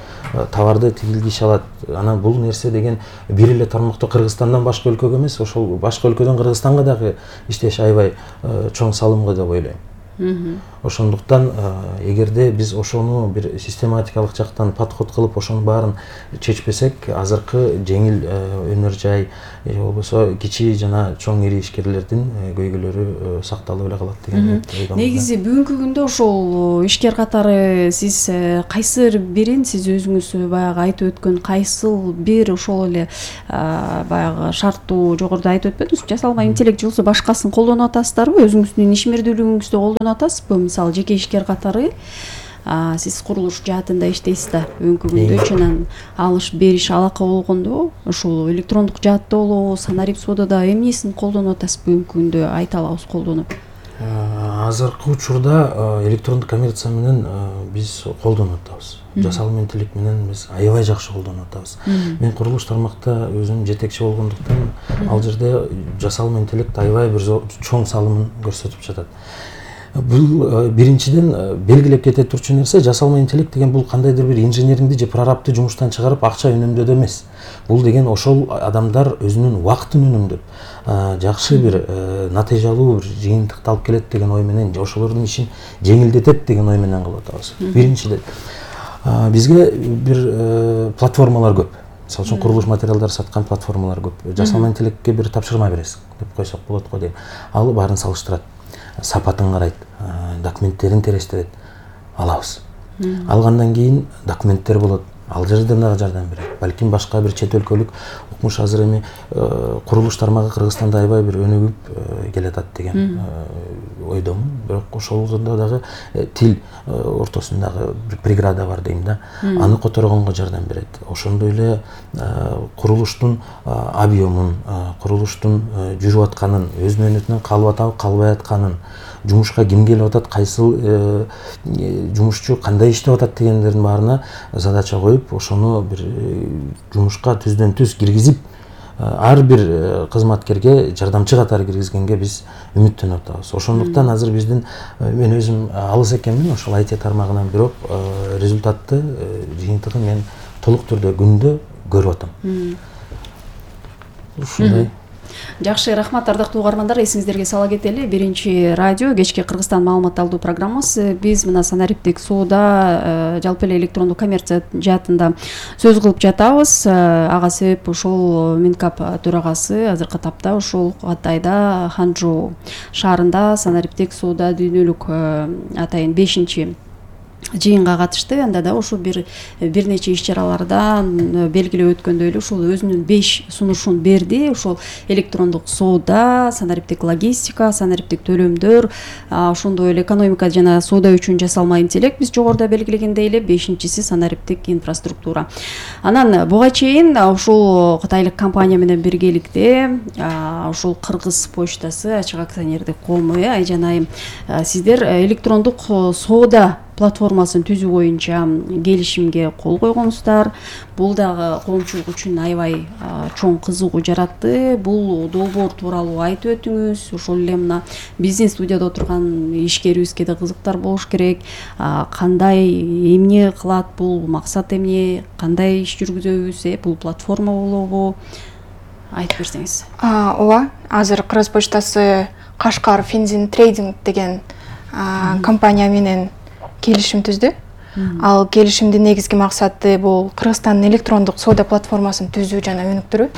товарды тигил киши алат. Анан бул нерсе деген бир эле тармакта Кыргызстандан башка өлкөгө эмес, ошол башка өлкөдөн Кыргызстанга дагы иштеш аябай чоң салымга деп ойлойм. Ошондуктан эгерде биз ошону бир систематикалык жактан подход кылып ошонун баарын чечпесек, азыркы жеңил өнөр жай же болбосо кичи жана чоң ири ишкерлердин көйгөйлөрү сакталып эле калат деген ойдомун. Негизи бүгүнкү күндө ошол ишкер катары сиз кайсы бирин, сиз өзүңүз баягы айтып өткөн кайсыл бир ошол эле баягы шарттуу жогоруда айтып өтпөдүңүзбү? Жасалма интеллект же болбосо башкасын колдонуп атасыздарбы? Өзүңүздүн ишмердүүлүгүңүздү колдонуп атасызбы? Мисалы жеке ишкер катары сиз курулуш жаатында иштейсиз да, бүгүнкү күндө чынан алыш бериш алака болгондо ошол электрондук жаатта болобу, санарип соодада эмнесин колдонуп атасыз бүгүнкү күндө, айта алабыз колдонуп? Азыркы учурда электрондук коммерция менен биз колдонуп атабыз. Жасалма интеллект менен биз аябай жакшы колдонуп атабыз. Мен курулуш тармакта өзүм жетекчи болгондуктан ал жерде жасалма интеллект аябай бир чоң салымын көрсөтүп жатат. Бул биринчиден белгилеп кете турчу нерсе, жасалма интеллект деген бул кандайдыр бир инженериңди же прорабты жумуштан чыгарып акча үнөмдөдө эмес. Бул деген ошол адамдар өзүнүн убактын үнөмдөп жакшы бир натыйжалуу бир жыйынтыкты алып келет деген ой менен, ошолордун ишин жеңилдетет деген ой менен кылып атабыз. Биринчиден бизге бир платформалар көп. Мисалы үчүн курулуш материалдары саткан платформалар көп. Жасалма интеллектке бир тапшырма бересиң деп койсок болот го дейм. Ал баарын салыштырат, сапатын карайт, документтерин терештирет, алабыз. Алгандан кийин документтер болот, ал жерден дагы жардам берет. Балким башка бир чет өлкөлүк укмуш азыр эми курулуш тармагы Кыргызстанда аябай бир өнүгүп келатат деген ойдомун. Бирок ошолдо дагы тил ортосундагы бир преграда бар дейм да. Аны которгонго жардам берет. Ошондой эле курулуштун объемун, курулуштун жүрүп атканын, өз мөөнөтүнөн калып атабы, калбай атканын, жумушка ким келип атат, кайсыл жумушчу кандай иштеп атат дегендердин баарына задача коюп, ошону бир жумушка түздөн түз киргизип, ар бир кызматкерге жардамчы катары киргизгенге биз үмүттөнүп атабыз. Ошондуктан азыр биздин, мен өзүм алыс экенмин ошол ай ти тармагынан, бирок результатты, жыйынтыгын мен толук түрдө күндө көрүп атам. Ушундай. Жакшы, рахмат ардактуу угармандар. Эсиңиздерге сала кетели, биринчи радио кечки Кыргызстан маалымат алуу программасы. Биз мына санариптик соода, жалпы эле электрондук коммерция жаатында сөз кылып жатабыз. Ага себеп ушул Минкап төрагасы азыркы тапта ушул Атайда, Ханчжоу шаарында санариптик соода дүйнөлүк атайын бешинчи жыйынга катышты. Анда да ошо бир бир нече иш чаралардан белгилеп өткөндөй эле ушул өзүнүн беш сунушун берди. Ошол электрондук соода, санариптик логистика, санариптик төлөмдөр, ошондой эле экономика жана соода үчүн жасалма интеллект, биз жогоруда белгилегендей эле бешинчиси санариптик инфраструктура. Анан буга чейин ушул кытайлык компания менен биргеликте ушул Кыргыз почтасы ачык акционердик коому, Айжан айым, сиздер электрондук соода платформасын түзүү боюнча келишимге кол койгонсуздар. Бул дагы коомчулук үчүн аябай чоң кызыгуу жаратты. Бул долбоор тууралуу айтып өтүңүз. Ошол эле мына биздин студияда отурган ишкерибизге да кызыктар болуш керек. Кандай, эмне кылат бул, максат эмне, кандай иш жүргүзөбүз, бул платформа болобу? Айтып берсеңиз. Ооба, азыр Кыргыз почтасы Кашкар Финзин Трейдинг деген компания менен келишим түздү. Ал келишимдин негизги максаты бул Кыргызстандын электрондук соода платформасын түзүү жана өнүктүрүү.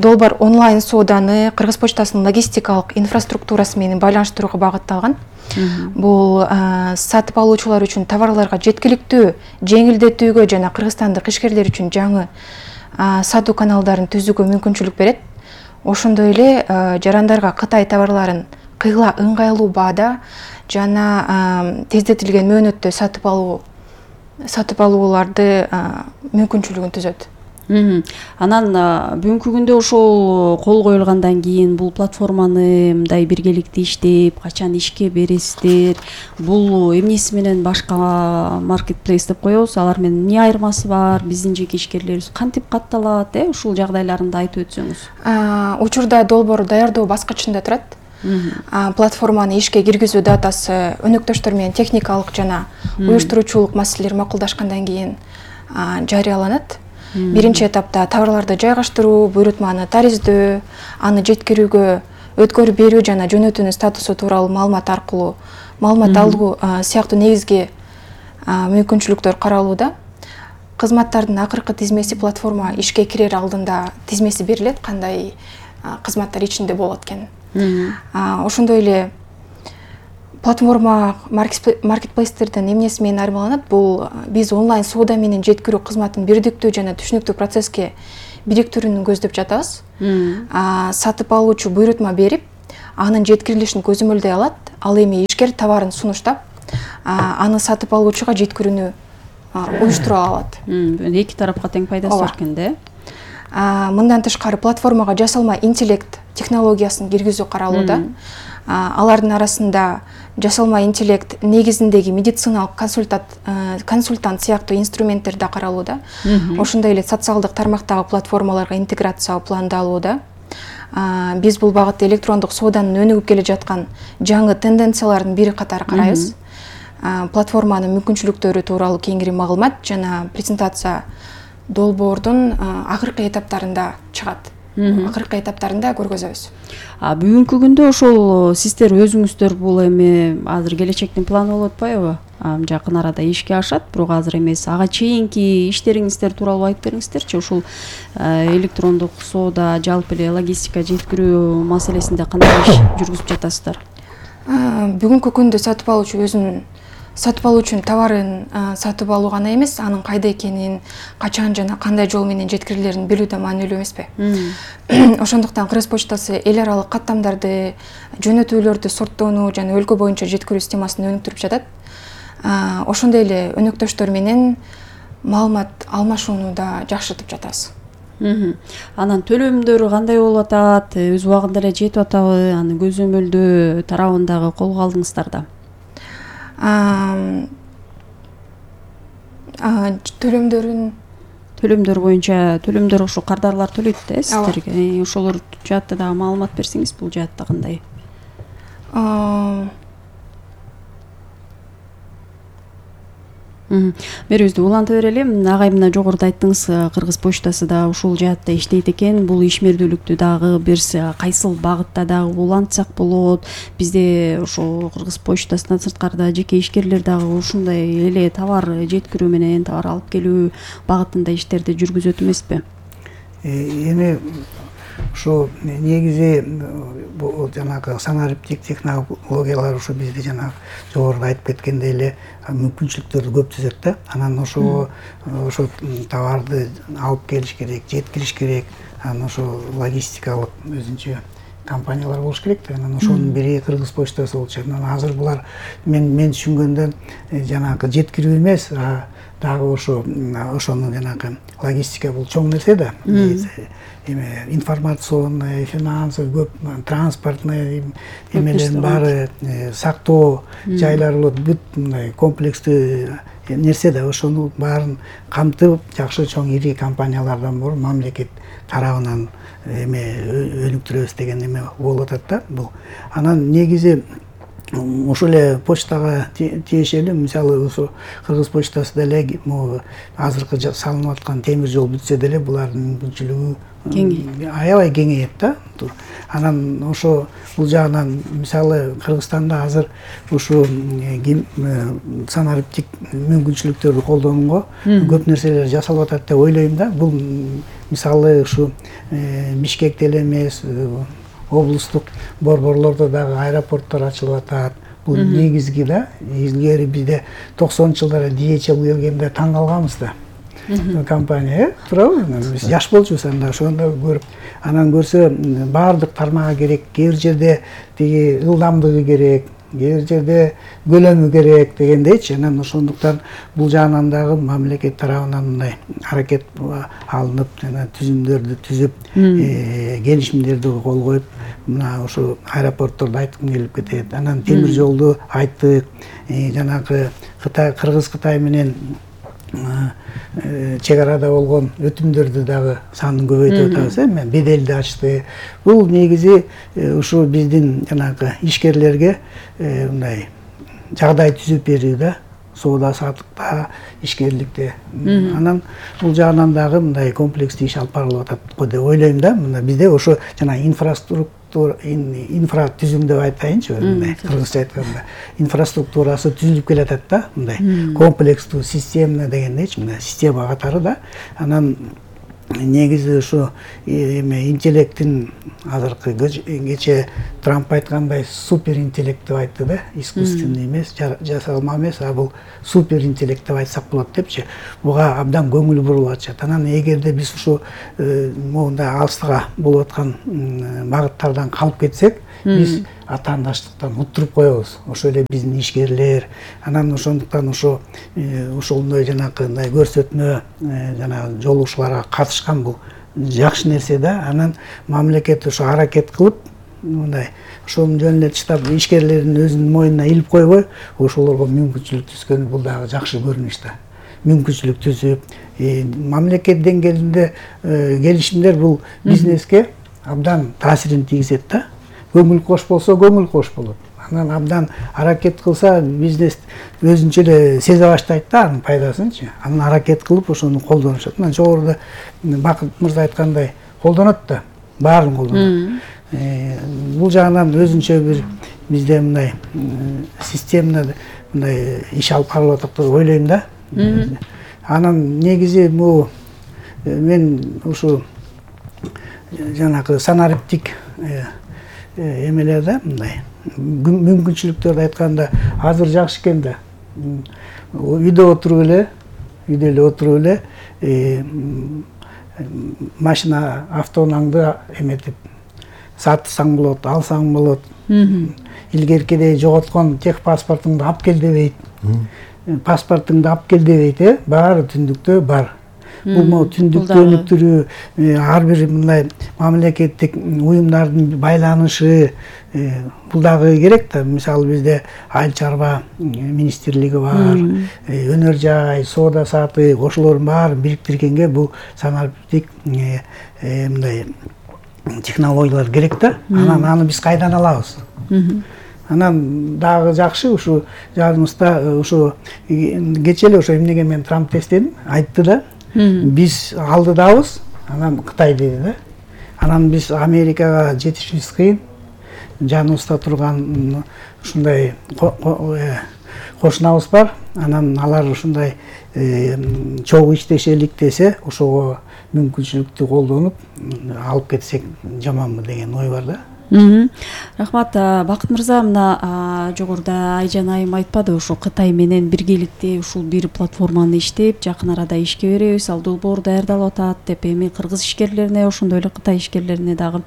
Долбоор онлайн сооданы Кыргыз почтасынын логистикалык инфраструктурасы менен байланыштырууга багытталган. Бул сатып алуучулар үчүн товарларга жеткиликтүү жеңилдетүүгө жана кыргызстандык ишкерлер үчүн жаңы сатуу каналдарын түзүүгө мүмкүнчүлүк берет. Ошондой эле жарандарга Кытай товарларын кыйла ыңгайлуу баада жана тездетилген мөөнөттө сатып алуу сатып алууларды мүмкүнчүлүгүн түзөт. Анан бүгүнкү күндө ошол кол коюлгандан кийин бул платформаны мындай биргеликте иштеп, качан ишке бересиздер? Бул эмнеси менен башка маркетплейс деп коебуз, алар менен эмне айырмасы бар? Биздин жеке ишкерлерибиз кантип катталат, э? Ушул жагдайларында айтып өтсөңүз. Учурда долбоор даярдоо баскычында турат. платформаны ишке киргизүү датасы өнөктөштөр менен техникалык жана уюштуруучулук маселелер макулдашкандан кийин жарыяланат. Биринчи этапта товарларды жайгаштыруу, буйрутманы тариздөө, аны жеткирүүгө өткөрүп берүү жана жөнөтүүнүн статусу тууралуу маалымат аркылуу маалымат алуу сыяктуу негизги мүмкүнчүлүктөр каралууда. Кызматтардын акыркы тизмеси платформа ишке кирер алдында тизмеси берилет, кандай кызматтар ичинде болот экен. Ошондой эле платформа маркетплейстердин эмнеси менен айырмаланат? Бул биз онлайн соода менен жеткирүү кызматын бирдиктүү жана түшүнүктүү процесске бириктирүүнү көздөп жатабыз. Сатып алуучу буйрутма берип, анын жеткирилишин көзөмөлдөй алат. Ал эми ишкер товарын сунуштап, аны сатып алуучуга жеткирүүнү уюштура алат. Эки тарапка тең пайдасы бар экен да. Мындан тышкары платформага жасалма интеллект технологиясын киргизүү каралууда. Алардын арасында жасалма интеллект негизиндеги медициналык консультант сыяктуу инструменттер да каралууда. Ошондой эле социалдык тармактагы платформаларга интеграция пландалууда. Биз бул багытта электрондук сооданын өнүгүп келе жаткан жаңы тенденциялардын бири катары карайбыз. Платформанын мүмкүнчүлүктөрү тууралуу кеңири маалымат жана презентация долбоордун акыркы этаптарында чыгат. Акыркы этаптарында көргөзөбүз. Бүгүнкү күндө ошол сиздер өзүңүздөр бул эми азыр келечектин планы болуп атпайбы? Жакын арада ишке ашат, бирок азыр эмес. Ага чейинки иштериңиздер тууралуу айтып бериңиздерчи. Ушул электрондук соода, жалпы эле логистика жеткирүү маселесинде кандай иш жүргүзүп жатасыздар? Бүгүнкү күндө сатып алуучу өзүнүн сатып алуучунун товарын сатып алуу гана эмес, анын кайда экенин, качан жана кандай жол менен жеткирилерин билүү да маанилүү эмеспи? Ошондуктан Кыргыз почтасы эл аралык каттамдарды, жөнөтүүлөрдү сорттоону жана өлкө боюнча жеткирүү системасын өнүктүрүп жатат. Ошондой эле өнөктөштөр менен маалымат алмашууну да жакшыртып жатабыз. Анан төлөмдөр кандай болуп атат? Өз убагында эле жетип атабы? Аны көзөмөлдөө тарабындагы колго алдыңыздар да? Төлөмдөрүн төлөмдөр боюнча төлөмдөр ошо кардарлар төлөйт да сиздерге. Ошолор жаатта дагы маалымат берсеңиз, бул жаатта кандай? Берүүбүздү уланта берели. Агай мына жогоруда айттыңыз, Кыргыз почтасы да ушул жаатта иштейт экен. Бул ишмердүүлүктү дагы биз кайсыл багытта дагы улантсак болот? Бизде ошо Кыргыз почтасынан сырткарыда жеке ишкерлер дагы ушундай эле товар жеткирүү менен товар алып келүү багытында иштерди жүргүзөт эмеспи? Эми ошо негизи бул жанагы санариптик технологиялар ошо бизде жана жогоруда айтып кеткендей эле мүмкүнчүлүктөрдү көп түзөт да. Анан ошо ошо товарды алып келиш керек, жеткириш керек. Анан ошо логистикалык өзүнчө компаниялар болуш керек да. Анан ошонун бири Кыргыз почтасы болчу. Анан азыр булар мен мен түшүнгөндөн жанагы жеткирүү эмес, дагы ошо ошонун жанагы логистика бул чоң нерсе да. Эме информационный, финансовый, көп транспортный эмелердин баары сактоо жайлары болот, бүт мындай комплекстүү нерсе да. Ошону баарын камтып, жакшы чоң ири компаниялардан болуп мамлекет тарабынан эме өнүктүрөбүз деген эме болуп атат да бул. Анан негизи ошол эле почтага тиешелүү, мисалы ошо Кыргыз почтасы деле азыркы салынып аткан темир жол бүтсө деле булардын мүмкүнчүлүгү аябай кеңейет да. Анан ошо бул жагынан мисалы Кыргызстанда азыр ушу санариптик мүмкүнчүлүктөрдү колдонууга көп нерселер жасалып атат деп ойлойм да. Бул мисалы ушу Бишкекте эле эмес, облустук борборлордо дагы аэропорттор ачылып атат. Бул негизги да. Илгери бизде токсонунчу жылдары ди эйч эл келгенде таң калганбыз да. Компания, туурабы? Биз жаш болчубуз анда, ошондо көрүп, анан көрсө баардык тармагы керек, кээ бир жерде тиги ылдамдыгы керек, кээ бир жерде көлөмү керек дегендейчи. Анан ошондуктан бул жагынан дагы мамлекет тарабынан мындай аракет алынып, жана түзүмдөрдү түзүп, келишимдерди кол коюп, мына ошо аэропортторду айткым келип кетет. Анан темир жолду айттык, жанагы Кытай, Кыргыз Кытай менен чек арада болгон өтүмдөрдү дагы санын көбөйтүп атабыз э беделди ачты. Бул негизи ушу биздин жанагы ишкерлерге мындай жагдай түзүп берүү да, соода саттыкта, ишкерликте. Анан бул жагынан дагы мындай комплекстүү иш алып барылып атат го деп ойлойм да. Мына бизде ошо жана инфраструктура инфра түзүм деп айтайынчы, мындай кыргызча айтканда инфраструктурасы түзүлүп келатат да, мындай комплекстүү система дегендейчи, мына система катары да. Анан негизи ушу эме интеллекттин азыркы кече Трамп айткандай супер интеллект деп айтты да, искусственный эмес, жасалма эмес, а бул супер интеллект деп айтсак болот депчи. Буга абдан көңүл бурулуп атышат. Анан эгерде биз ушу моундай алыстыга болуп аткан багыттардан калып кетсек, биз атаандаштыктан уттуруп коебуз. Ошо эле биздин ишкерлер. Анан ошондуктан ошо ошондой жанагы мындай көрсөтмө жанагы жолугушууларга катышкан бул жакшы нерсе да. Анан мамлекет ошо аракет кылып мындай ошонун жөнүн эле таштап ишкерлердин өзүнүн мойнуна илип койбой, ошолорго мүмкүнчүлүк түзгөн бул дагы жакшы көрүнүш да. Мүмкүнчүлүк түзүп, мамлекет деңгээлинде келишимдер бул бизнеске абдан таасирин тийгизет да. Көңүл кош болсо, көңүл кош болот. Анан абдан аракет кылса, бизнес өзүнчө эле сезе баштайт да анын пайдасынчы. Анан аракет кылып ошону колдонушат. Мына жогоруда Бакыт мырза айткандай колдонот да, баарын колдонот. Бул жагынан өзүнчө бир бизде мындай системада мындай иш алып барылып атат деп ойлойм да. Анан негизи бул мен ушу жанагы санариптик эмелер да, мындай мүмкүнчүлүктөрдү айтканда азыр жакшы экен да. Үйдө отуруп эле, үйдө эле отуруп эле машина автоунааңды эметип сатсаң болот, алсаң болот. Илгеркидей жоготкон тех паспортуңду алып кел дебейт. Паспортуңду алып кел дебейт, э? Баары түндүктө бар. Бул могу түндүктө өнүктүрүү, ар бир мындай мамлекеттик уюмдардын байланышы бул дагы керек да. Мисалы бизде айыл чарба министрлиги бар, өнөр жай, соода саттык, ошолордун баарын бириктиргенге бул санариптик мындай технологиялар керек да. Анан аны биз кайдан алабыз? Анан дагы жакшы ушу жадыбызда ушу кече эле ошо эмнеге мен Трамп эстедим, айтты да. Биз алдыдабыз, анан Кытай деди да. Анан биз Америкага жетишибиз кыйын. Жаныбызда турган ушундай кошунабыз бар. Анан алар ушундай чогуу иштешелик десе, ошого мүмкүнчүлүктү колдонуп алып кетсек жаманбы деген ой бар да. Рахмат. Бакыт мырза, мына жогоруда Айжан айым айтпады, ушу Кытай менен биргеликте ушул бир платформаны иштеп, жакын арада ишке беребиз, ал долбоор даярдалып атат деп. Эми кыргыз ишкерлерине, ошондой эле Кытай ишкерлерине дагы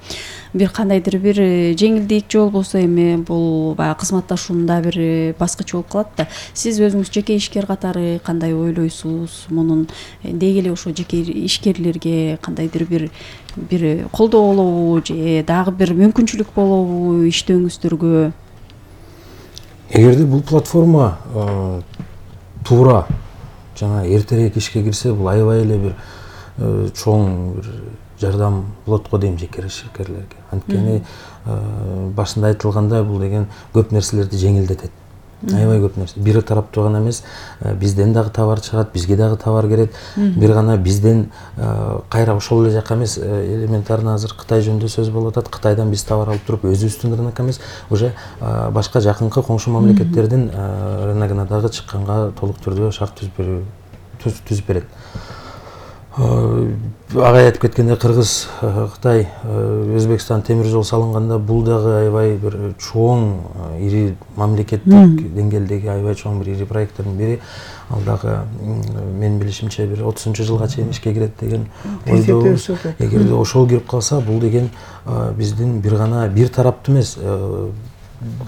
бир кандайдыр бир жеңилдик же болбосо эми бул баягы кызматташуунда бир баскыч болуп калат да. Сиз өзүңүз жеке ишкер катары кандай ойлойсуз? Мунун деги эле ошо жеке ишкерлерге кандайдыр бир бир колдоо болобу же дагы бир мүмкүнчүлүк болобу иштөөңүздөргө? Эгерде бул платформа туура жана эртерээк ишке кирсе, бул аябай эле бир чоң бир жардам болот го дейм жеке ишкерлерге. Анткени башында айтылгандай бул деген көп нерселерди жеңилдетет. Аябай көп нерсе. Бир тараптуу гана эмес, бизден дагы товар чыгат, бизге дагы товар керет. Бир гана бизден кайра ошол эле жака эмес, элементарно азыр Кытай жөнүндө сөз болуп атат. Кытайдан биз товар алып туруп, өзүбүздүн рынок эмес, уже башка жакынкы коңшу мамлекеттердин рыногуна дагы чыкканга толук түрдө шарт түзүп берүү түзүп берет. Агай айтып кеткендей, Кыргыз, Кытай, Өзбекстан темир жол салынганда бул дагы аябай бир чоң, ири мамлекеттик деңгээлдеги аябай чоң бир ири проекттин бири. Ал дагы менин билишимче бир отузунчу жылга чейин ишке кирет деген ойдобуз. Эгерде ошол кирип калса, бул деген биздин бир гана бир тараптуу эмес,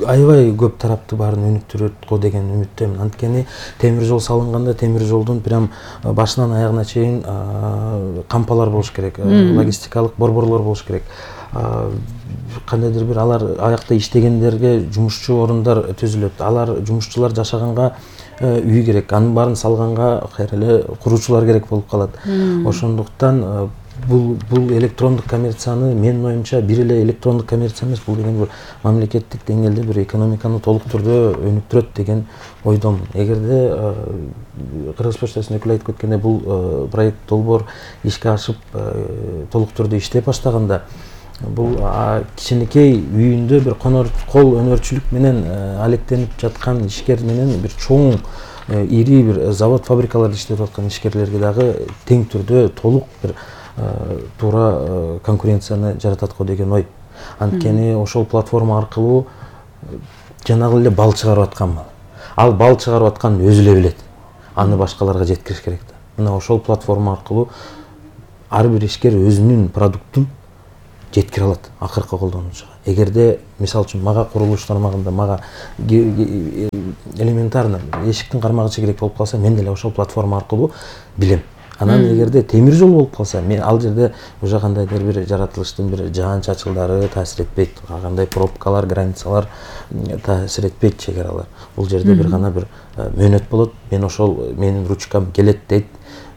аябай көп тарапты баарын өнүктүрөт го деген үмүттөмүн. Анткени темир жол салынганда темир жолдун прям башынан аягына чейин кампалар болуш керек, логистикалык борборлор болуш керек. кандайдыр бир алар аякта иштегендерге жумушчу орундар түзүлөт. Алар жумушчулар жашаганга үй керек, анын баарын салганга кайра эле куруучулар керек болуп калат. Ошондуктан бул бул электрондук коммерцияны менин оюмча бир эле электрондук коммерция эмес, бул деген бир мамлекеттик деңгээлде бир экономиканы толук түрдө өнүктүрөт деген ойдомун. Эгерде Кыргыз почтасынын өкүлү айтып кеткендей бул проект долбоор ишке ашып толук түрдө иштеп баштаганда бул кичинекей үйүндө бир конор кол өнөрчүлүк менен алектенип жаткан ишкер менен бир чоң ири бир завод фабрикаларда иштеп аткан ишкерлерге дагы тең түрдө толук бир туура конкуренцияны жаратат го деген ой. Анткени ошол платформа аркылуу жанагы эле бал чыгарып аткан мал. Ал бал чыгарып атканын өзү эле билет. Аны башкаларга жеткириш керек да. Мына ошол платформа аркылуу ар бир ишкер өзүнүн продуктун жеткире алат акыркы колдонуучуга. Эгерде мисалы үчүн мага курулуш тармагында мага элементарно эшиктин кармагычы керек болуп калса, мен деле ошол платформа аркылуу билем. Анан эгерде темир жол болуп калса, мен ал жерде уже кандайдыр бир жаратылыштын бир жаан чачылдары таасир этпейт, кандай пробкалар, границалар таасир этпейт, чегаралар. Бул жерде бир гана бир мөөнөт болот. Мен ошол менин ручкам келет дейт.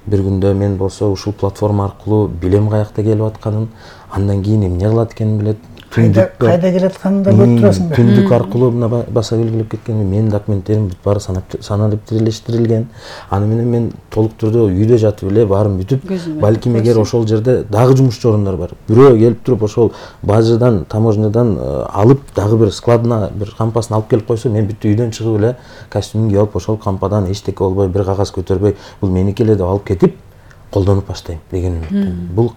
Бир күндө мен болсо ушул платформа аркылуу билем каякта келип атканын, андан кийин эмне кылат экенин билет. Кайда кайда келатканын да көрүп турасың да. Түндүк аркылуу мына баса белгилеп кеткен менин документтерим бүт баары саналиптириштирилген. Аны менен мен толук түрдө үйдө жатып эле баарын бүтүп, балким эгер ошол жерде дагы жумушчу орундар бар. Бирөө келип туруп ошол бажыдан, таможнядан алып дагы бир складына бир кампасын алып келип койсо, мен бүт үйдөн чыгып эле костюмун кийип алып ошол кампадан эчтеке болбой, бир кагаз көтөрбөй, бул меники эле деп алып кетип колдонуп баштайм деген үмүттөмүн. Бул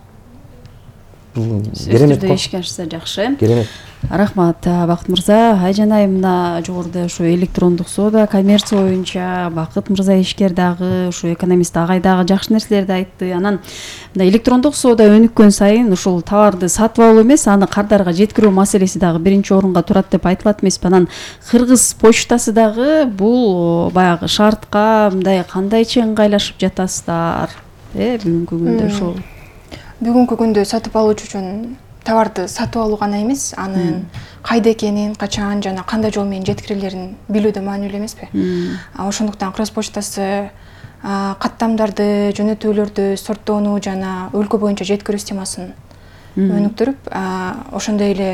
керемет ишке ашса жакшы. Керемет. Рахмат, Бакыт мырза. Айжан айым мына жогоруда ушу электрондук соода, коммерция боюнча Бакыт мырза ишкер дагы, ушу экономист агай дагы жакшы нерселерди айтты. Анан мына электрондук соода өнүккөн сайын ушул товарды сатып алуу эмес, аны кардарга жеткирүү маселеси дагы биринчи орунга турат деп айтылат эмеспи? Анан Кыргыз почтасы дагы бул баягы шартка мындай кандайча ыңгайлашып жатасыздар? Э, бүгүнкү күндө ушул Бүгүнкү күндө сатып алуучу үчүн товарды сатып алуу гана эмес, анын кайда экенин, качан жана кандай жол менен жеткирилерин билүү да маанилүү эмеспи? Ошондуктан Кыргыз почтасы каттамдарды, жөнөтүүлөрдү сорттоону жана өлкө боюнча жеткирүү системасын өнүктүрүп, ошондой эле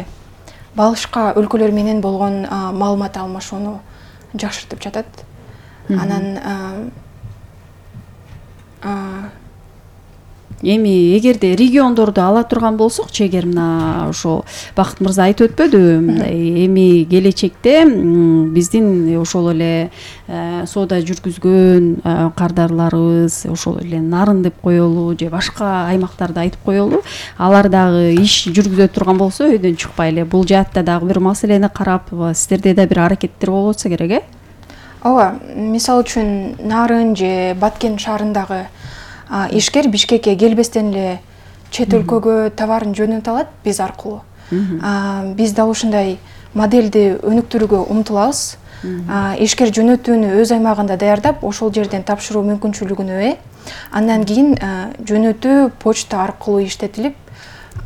башка өлкөлөр менен болгон маалымат алмашууну жакшыртып жатат. Анан эми эгерде региондорду ала турган болсокчу, эгер мына ошо Бакыт мырза айтып өтпөдү, мындай эми келечекте биздин ошол эле соода жүргүзгөн кардарларыбыз, ошол эле Нарын деп коелу же башка аймактарды айтып коелу, алар дагы иш жүргүзө турган болсо өйдөн чыкпай эле бул жаатта дагы бир маселени карап, сиздерде да бир аракеттер болуп атса керек, э? Ооба, мисалы үчүн Нарын же Баткен шаарындагы ишкер Бишкекке келбестен эле чет өлкөгө товарын жөнөтө алат биз аркылуу. Биз да ушундай модельди өнүктүрүүгө умтулабыз. Ишкер жөнөтүүнү өз аймагында даярдап, ошол жерден тапшыруу мүмкүнчүлүгүнө ээ. Андан кийин жөнөтүү почта аркылуу иштетилип,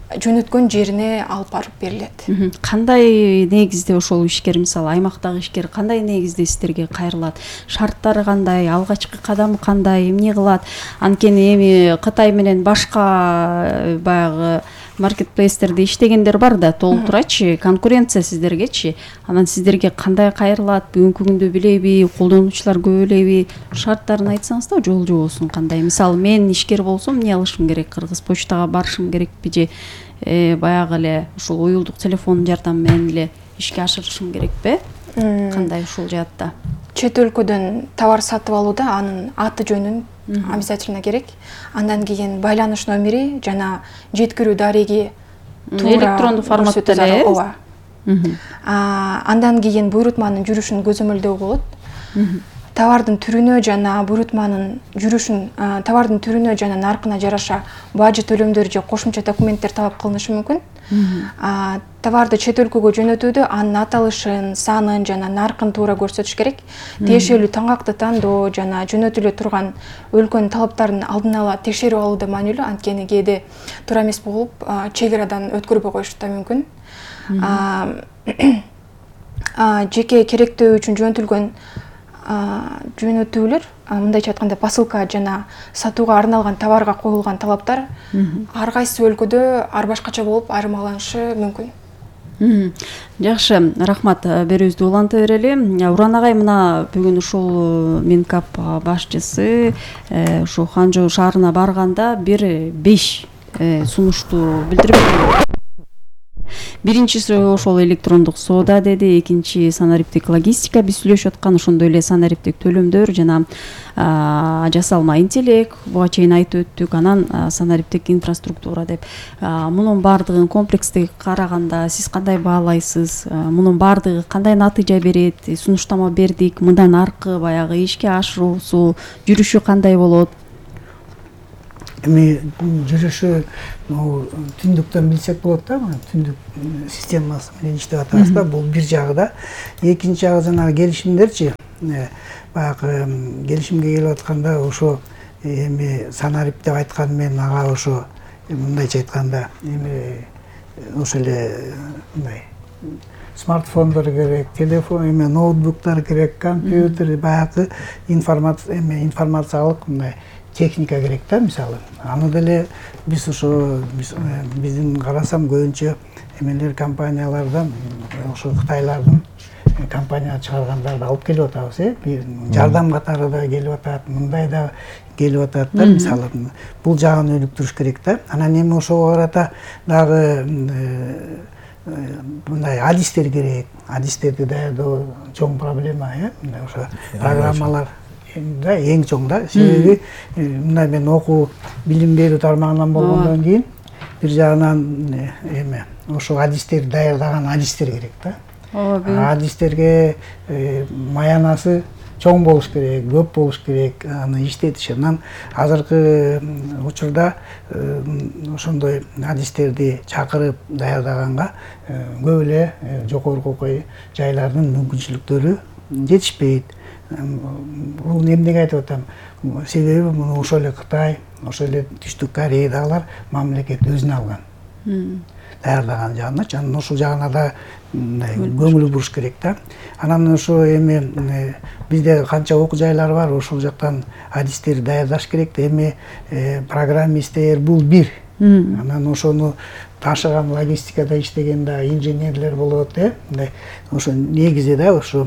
жөнөткөн жерине алып барып берилет. Кандай негизде ошол ишкер, мисалы аймактагы ишкер кандай негизде сиздерге кайрылат? Шарттары кандай, алгачкы кадамы кандай, эмне кылат? Анткени эми Кытай менен башка баягы маркетплейстерде иштегендер бар да, толтурачы, конкуренция сиздергечи. Анан сиздерге кандай кайрылат? Бүгүнкү күндө билеби, колдонуучулар көп элеби? Шарттарын айтсаңыз да, жол жобосун кандай? Мисалы мен ишкер болсом эмне кылышым керек? Кыргыз почтага барышым керекпи же баягы эле ушул уюлдук телефон жардамы менен эле ишке ашырышым керекпи? Кандай ушул жаатта? Чет өлкөдөн товар сатып алууда анын аты жөнүн обязательно керек. Андан кийин байланыш номери жана жеткирүү дареги электрондук форматта эле. Ооба. Андан кийин буйрутманын жүрүшүн көзөмөлдөө болот. Товардын түрүнө жана буйрутманын жүрүшүн, товардын түрүнө жана наркына жараша бажы төлөмдөр же кошумча документтер талап кылынышы мүмкүн. товарды чет өлкөгө жөнөтүүдө анын аталышын, санын жана наркын туура көрсөтүш керек. Тиешелүү таңакты тандоо жана жөнөтүлө турган өлкөнүн талаптарын алдын ала текшерип алуу да маанилүү, анткени кээде туура эмес болуп чек арадан өткөрбөй коюшу да мүмкүн. Жеке керектөө үчүн жөнөтүлгөн жөнөтүүлөр, мындайча айтканда посылка жана сатууга арналган товарга коюлган талаптар ар кайсы өлкөдө ар башкача болуп айырмаланышы мүмкүн. Жакшы, рахмат. Берүүбүздү уланта берели. Уран агай, мына бүгүн ушул Минкап башчысы ушу Ханчжоу шаарына барганда бир беш сунушту билдирип, биринчиси ошол электрондук соода деди, экинчи санариптик логистика, биз сүйлөшүп аткан, ошондой эле санариптик төлөмдөр жана жасалма интеллект, буга чейин айтып өттүк, анан санариптик инфраструктура деп. Мунун баардыгын комплекстик караганда сиз кандай баалайсыз? Мунун баардыгы кандай натыйжа берет? Сунуштама бердик, мындан аркы баягы ишке ашыруусу, жүрүшү кандай болот? Эми жүрүшү түндүктөн билсек болот да, түндүк системасы менен иштеп атабыз да, бул бир жагы да. Экинчи жагы жанагы келишимдерчи, баягы келишимге келип атканда ошо эми санарип деп айткан мен ага ошо мындайча айтканда эми ошо эле мындай смартфондор керек, телефон, эми ноутбуктар керек, компьютер, баягы информация, эми информациялык мындай техника керек да, мисалы. Аны деле биз ошо биздин карасам көбүнчө эмелер компаниялардан, ошо Кытайлардын компания чыгаргандарды алып келип атабыз, э? Жардам катары да келип атат, мындай да келип атат да, мисалы. Бул жагын өнүктүрүш керек да. Анан эми ошого карата дагы мындай адистер керек. Адистерди даярдоо чоң проблема, э? Ошо программалар да эң чоң да. Себеби мындай мен окуу билим берүү тармагынан болгондон кийин бир жагынан эме ошо адистер даярдаган адистер керек да. Адистерге маянасы чоң болуш керек, көп болуш керек, аны иштетиш. Анан азыркы учурда ошондой адистерди чакырып даярдаганга көп эле жогорку окуй жайлардын мүмкүнчүлүктөрү жетишпейт. Бул эмнеге айтып атам? Себеби муну ошол эле Кытай, ошол эле Түштүк Кореядагылар мамлекет өзүнө алган. Даярдаган жагыначы, анан ошол жагына да көңүл буруш керек да. Анан ошо эми бизде канча окуу жайлар бар, ошол жактан адистер даярдаш керек да. Эми программисттер бул бир. Анан ошону ташыган логистикада иштеген да инженерлер болот, э? Мындай ошо негизи да ошо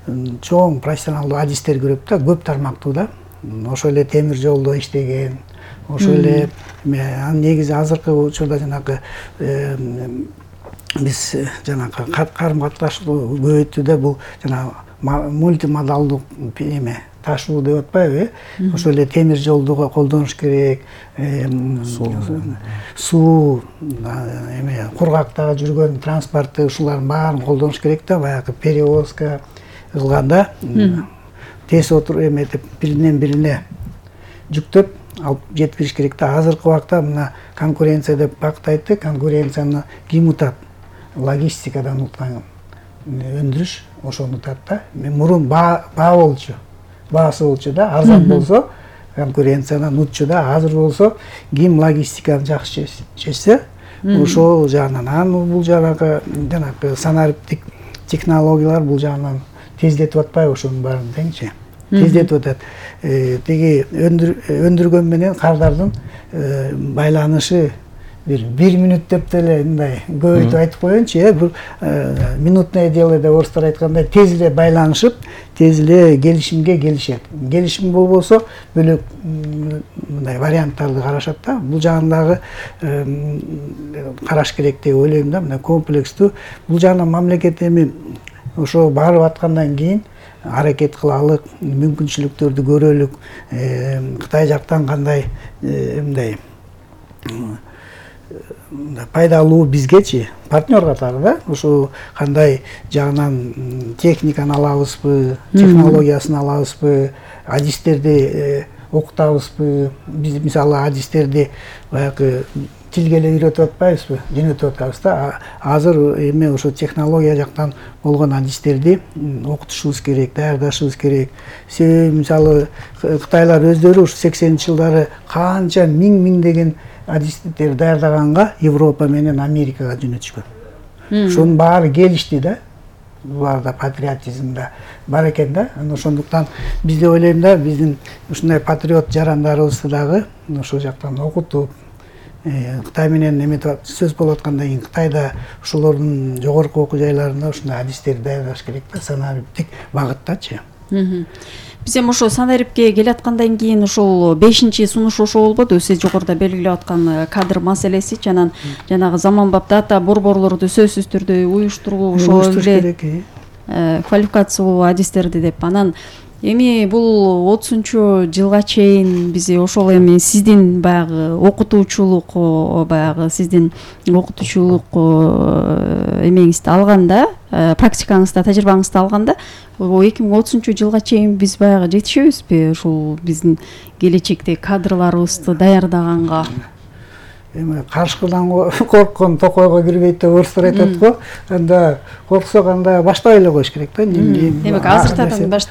чоң профессионалдуу адистер керек да, көп тармактуу да. Ошо эле темир жолдо иштеген, ошо эле анын негизи азыркы учурда жанагы биз жанагы карым катнашты көбөйтүүдө бул жанагы мультимодалдуу эме ташуу деп атпайбы, э? Ошо эле темир жолду колдонуш керек, суу, эме кургакта жүргөн транспортты ушулардын баарын колдонуш керек да, баягы перевозка кылганда тез отуруп эметип биринен бирине жүктөп алып жеткириш керек да. Азыркы убакта мына конкуренция деп бакыт айтты, конкуренцияны ким утат? Логистикадан уткан өндүрүш ошону утат да. Мурун баа болчу. Баасы болчу да, арзан болсо конкуренциядан утчу да. Азыр болсо ким логистиканы жакшы чечсе, ошол жагынан. Анан бул жанагы жанагы санариптик технологиялар бул жагынан тездетип атпайбы ошонун баарын деңчи? Тездетип атат. Теги өндүргөн менен кардардын байланышы бир бир минут деп деле мындай көбөйтүп айтып коеюнчу, э, бир минутное дело деп орустар айткандай тез эле байланышып, тез эле келишимге келишет. Келишим болбосо бөлөк мындай варианттарды карашат да. Бул жагындагы караш керек деп ойлойм да, мындай комплекстүү. Бул жагынан мамлекет эми ошо барып аткандан кийин аракет кылалык, мүмкүнчүлүктөрдү көрөлүк. Кытай жактан кандай мындай пайдалуу бизгечи партнер катары да, ошо кандай жагынан техниканы алабызбы, технологиясын алабызбы, адистерди окутабызбы. Биз мисалы адистерди баягы тилге эле үйрөтүп атпайбызбы, жөнөтүп атабыз да. Азыр эме ошо технология жактан болгон адистерди окутушубуз керек, даярдашыбыз керек. Себеби мисалы Кытайлар өздөрү ушу сексенинчи жылдары канча миң миңдеген адистер даярдаганга Европа менен Америкага жөнөтүшкөн. Ошонун баары келишти да. Буларда патриотизм да бар экен да. Ошондуктан биз деп ойлойм да, биздин ушундай патриот жарандарыбызды дагы ошол жактан окутуп, Кытай менен эметип сөз болуп аткандан кийин Кытайда ошолордун жогорку окуу жайларында ушундай адистерди даярдаш керек да, санариптик багыттачы. Биз эми ошо санарипке келаткандан кийин ошол бешинчи сунуш ошо болбодубу, сиз жогоруда белгилеп аткан кадр маселеси, жанагы жанагы заманбап дата борборлорду сөзсүз түрдө уюштуруу, ошол эле квалификациялуу адистерди деп. Анан эми бул отузунчу жылга чейин биз ошол эми сиздин баягы окутуучулук баягы сиздин окутуучулук эмеңизди алганда, практикаңызда, тажрыйбаңызды алганда эки миң отузунчу жылга чейин биз баягы жетишебизби ушул биздин келечекте кадрларыбызды даярдаганга? Эми карышкыдан корккон токойго кирбейт деп орустар айтат го. Анда корксок анда баштабай эле коюш керек да. Демек азыртадан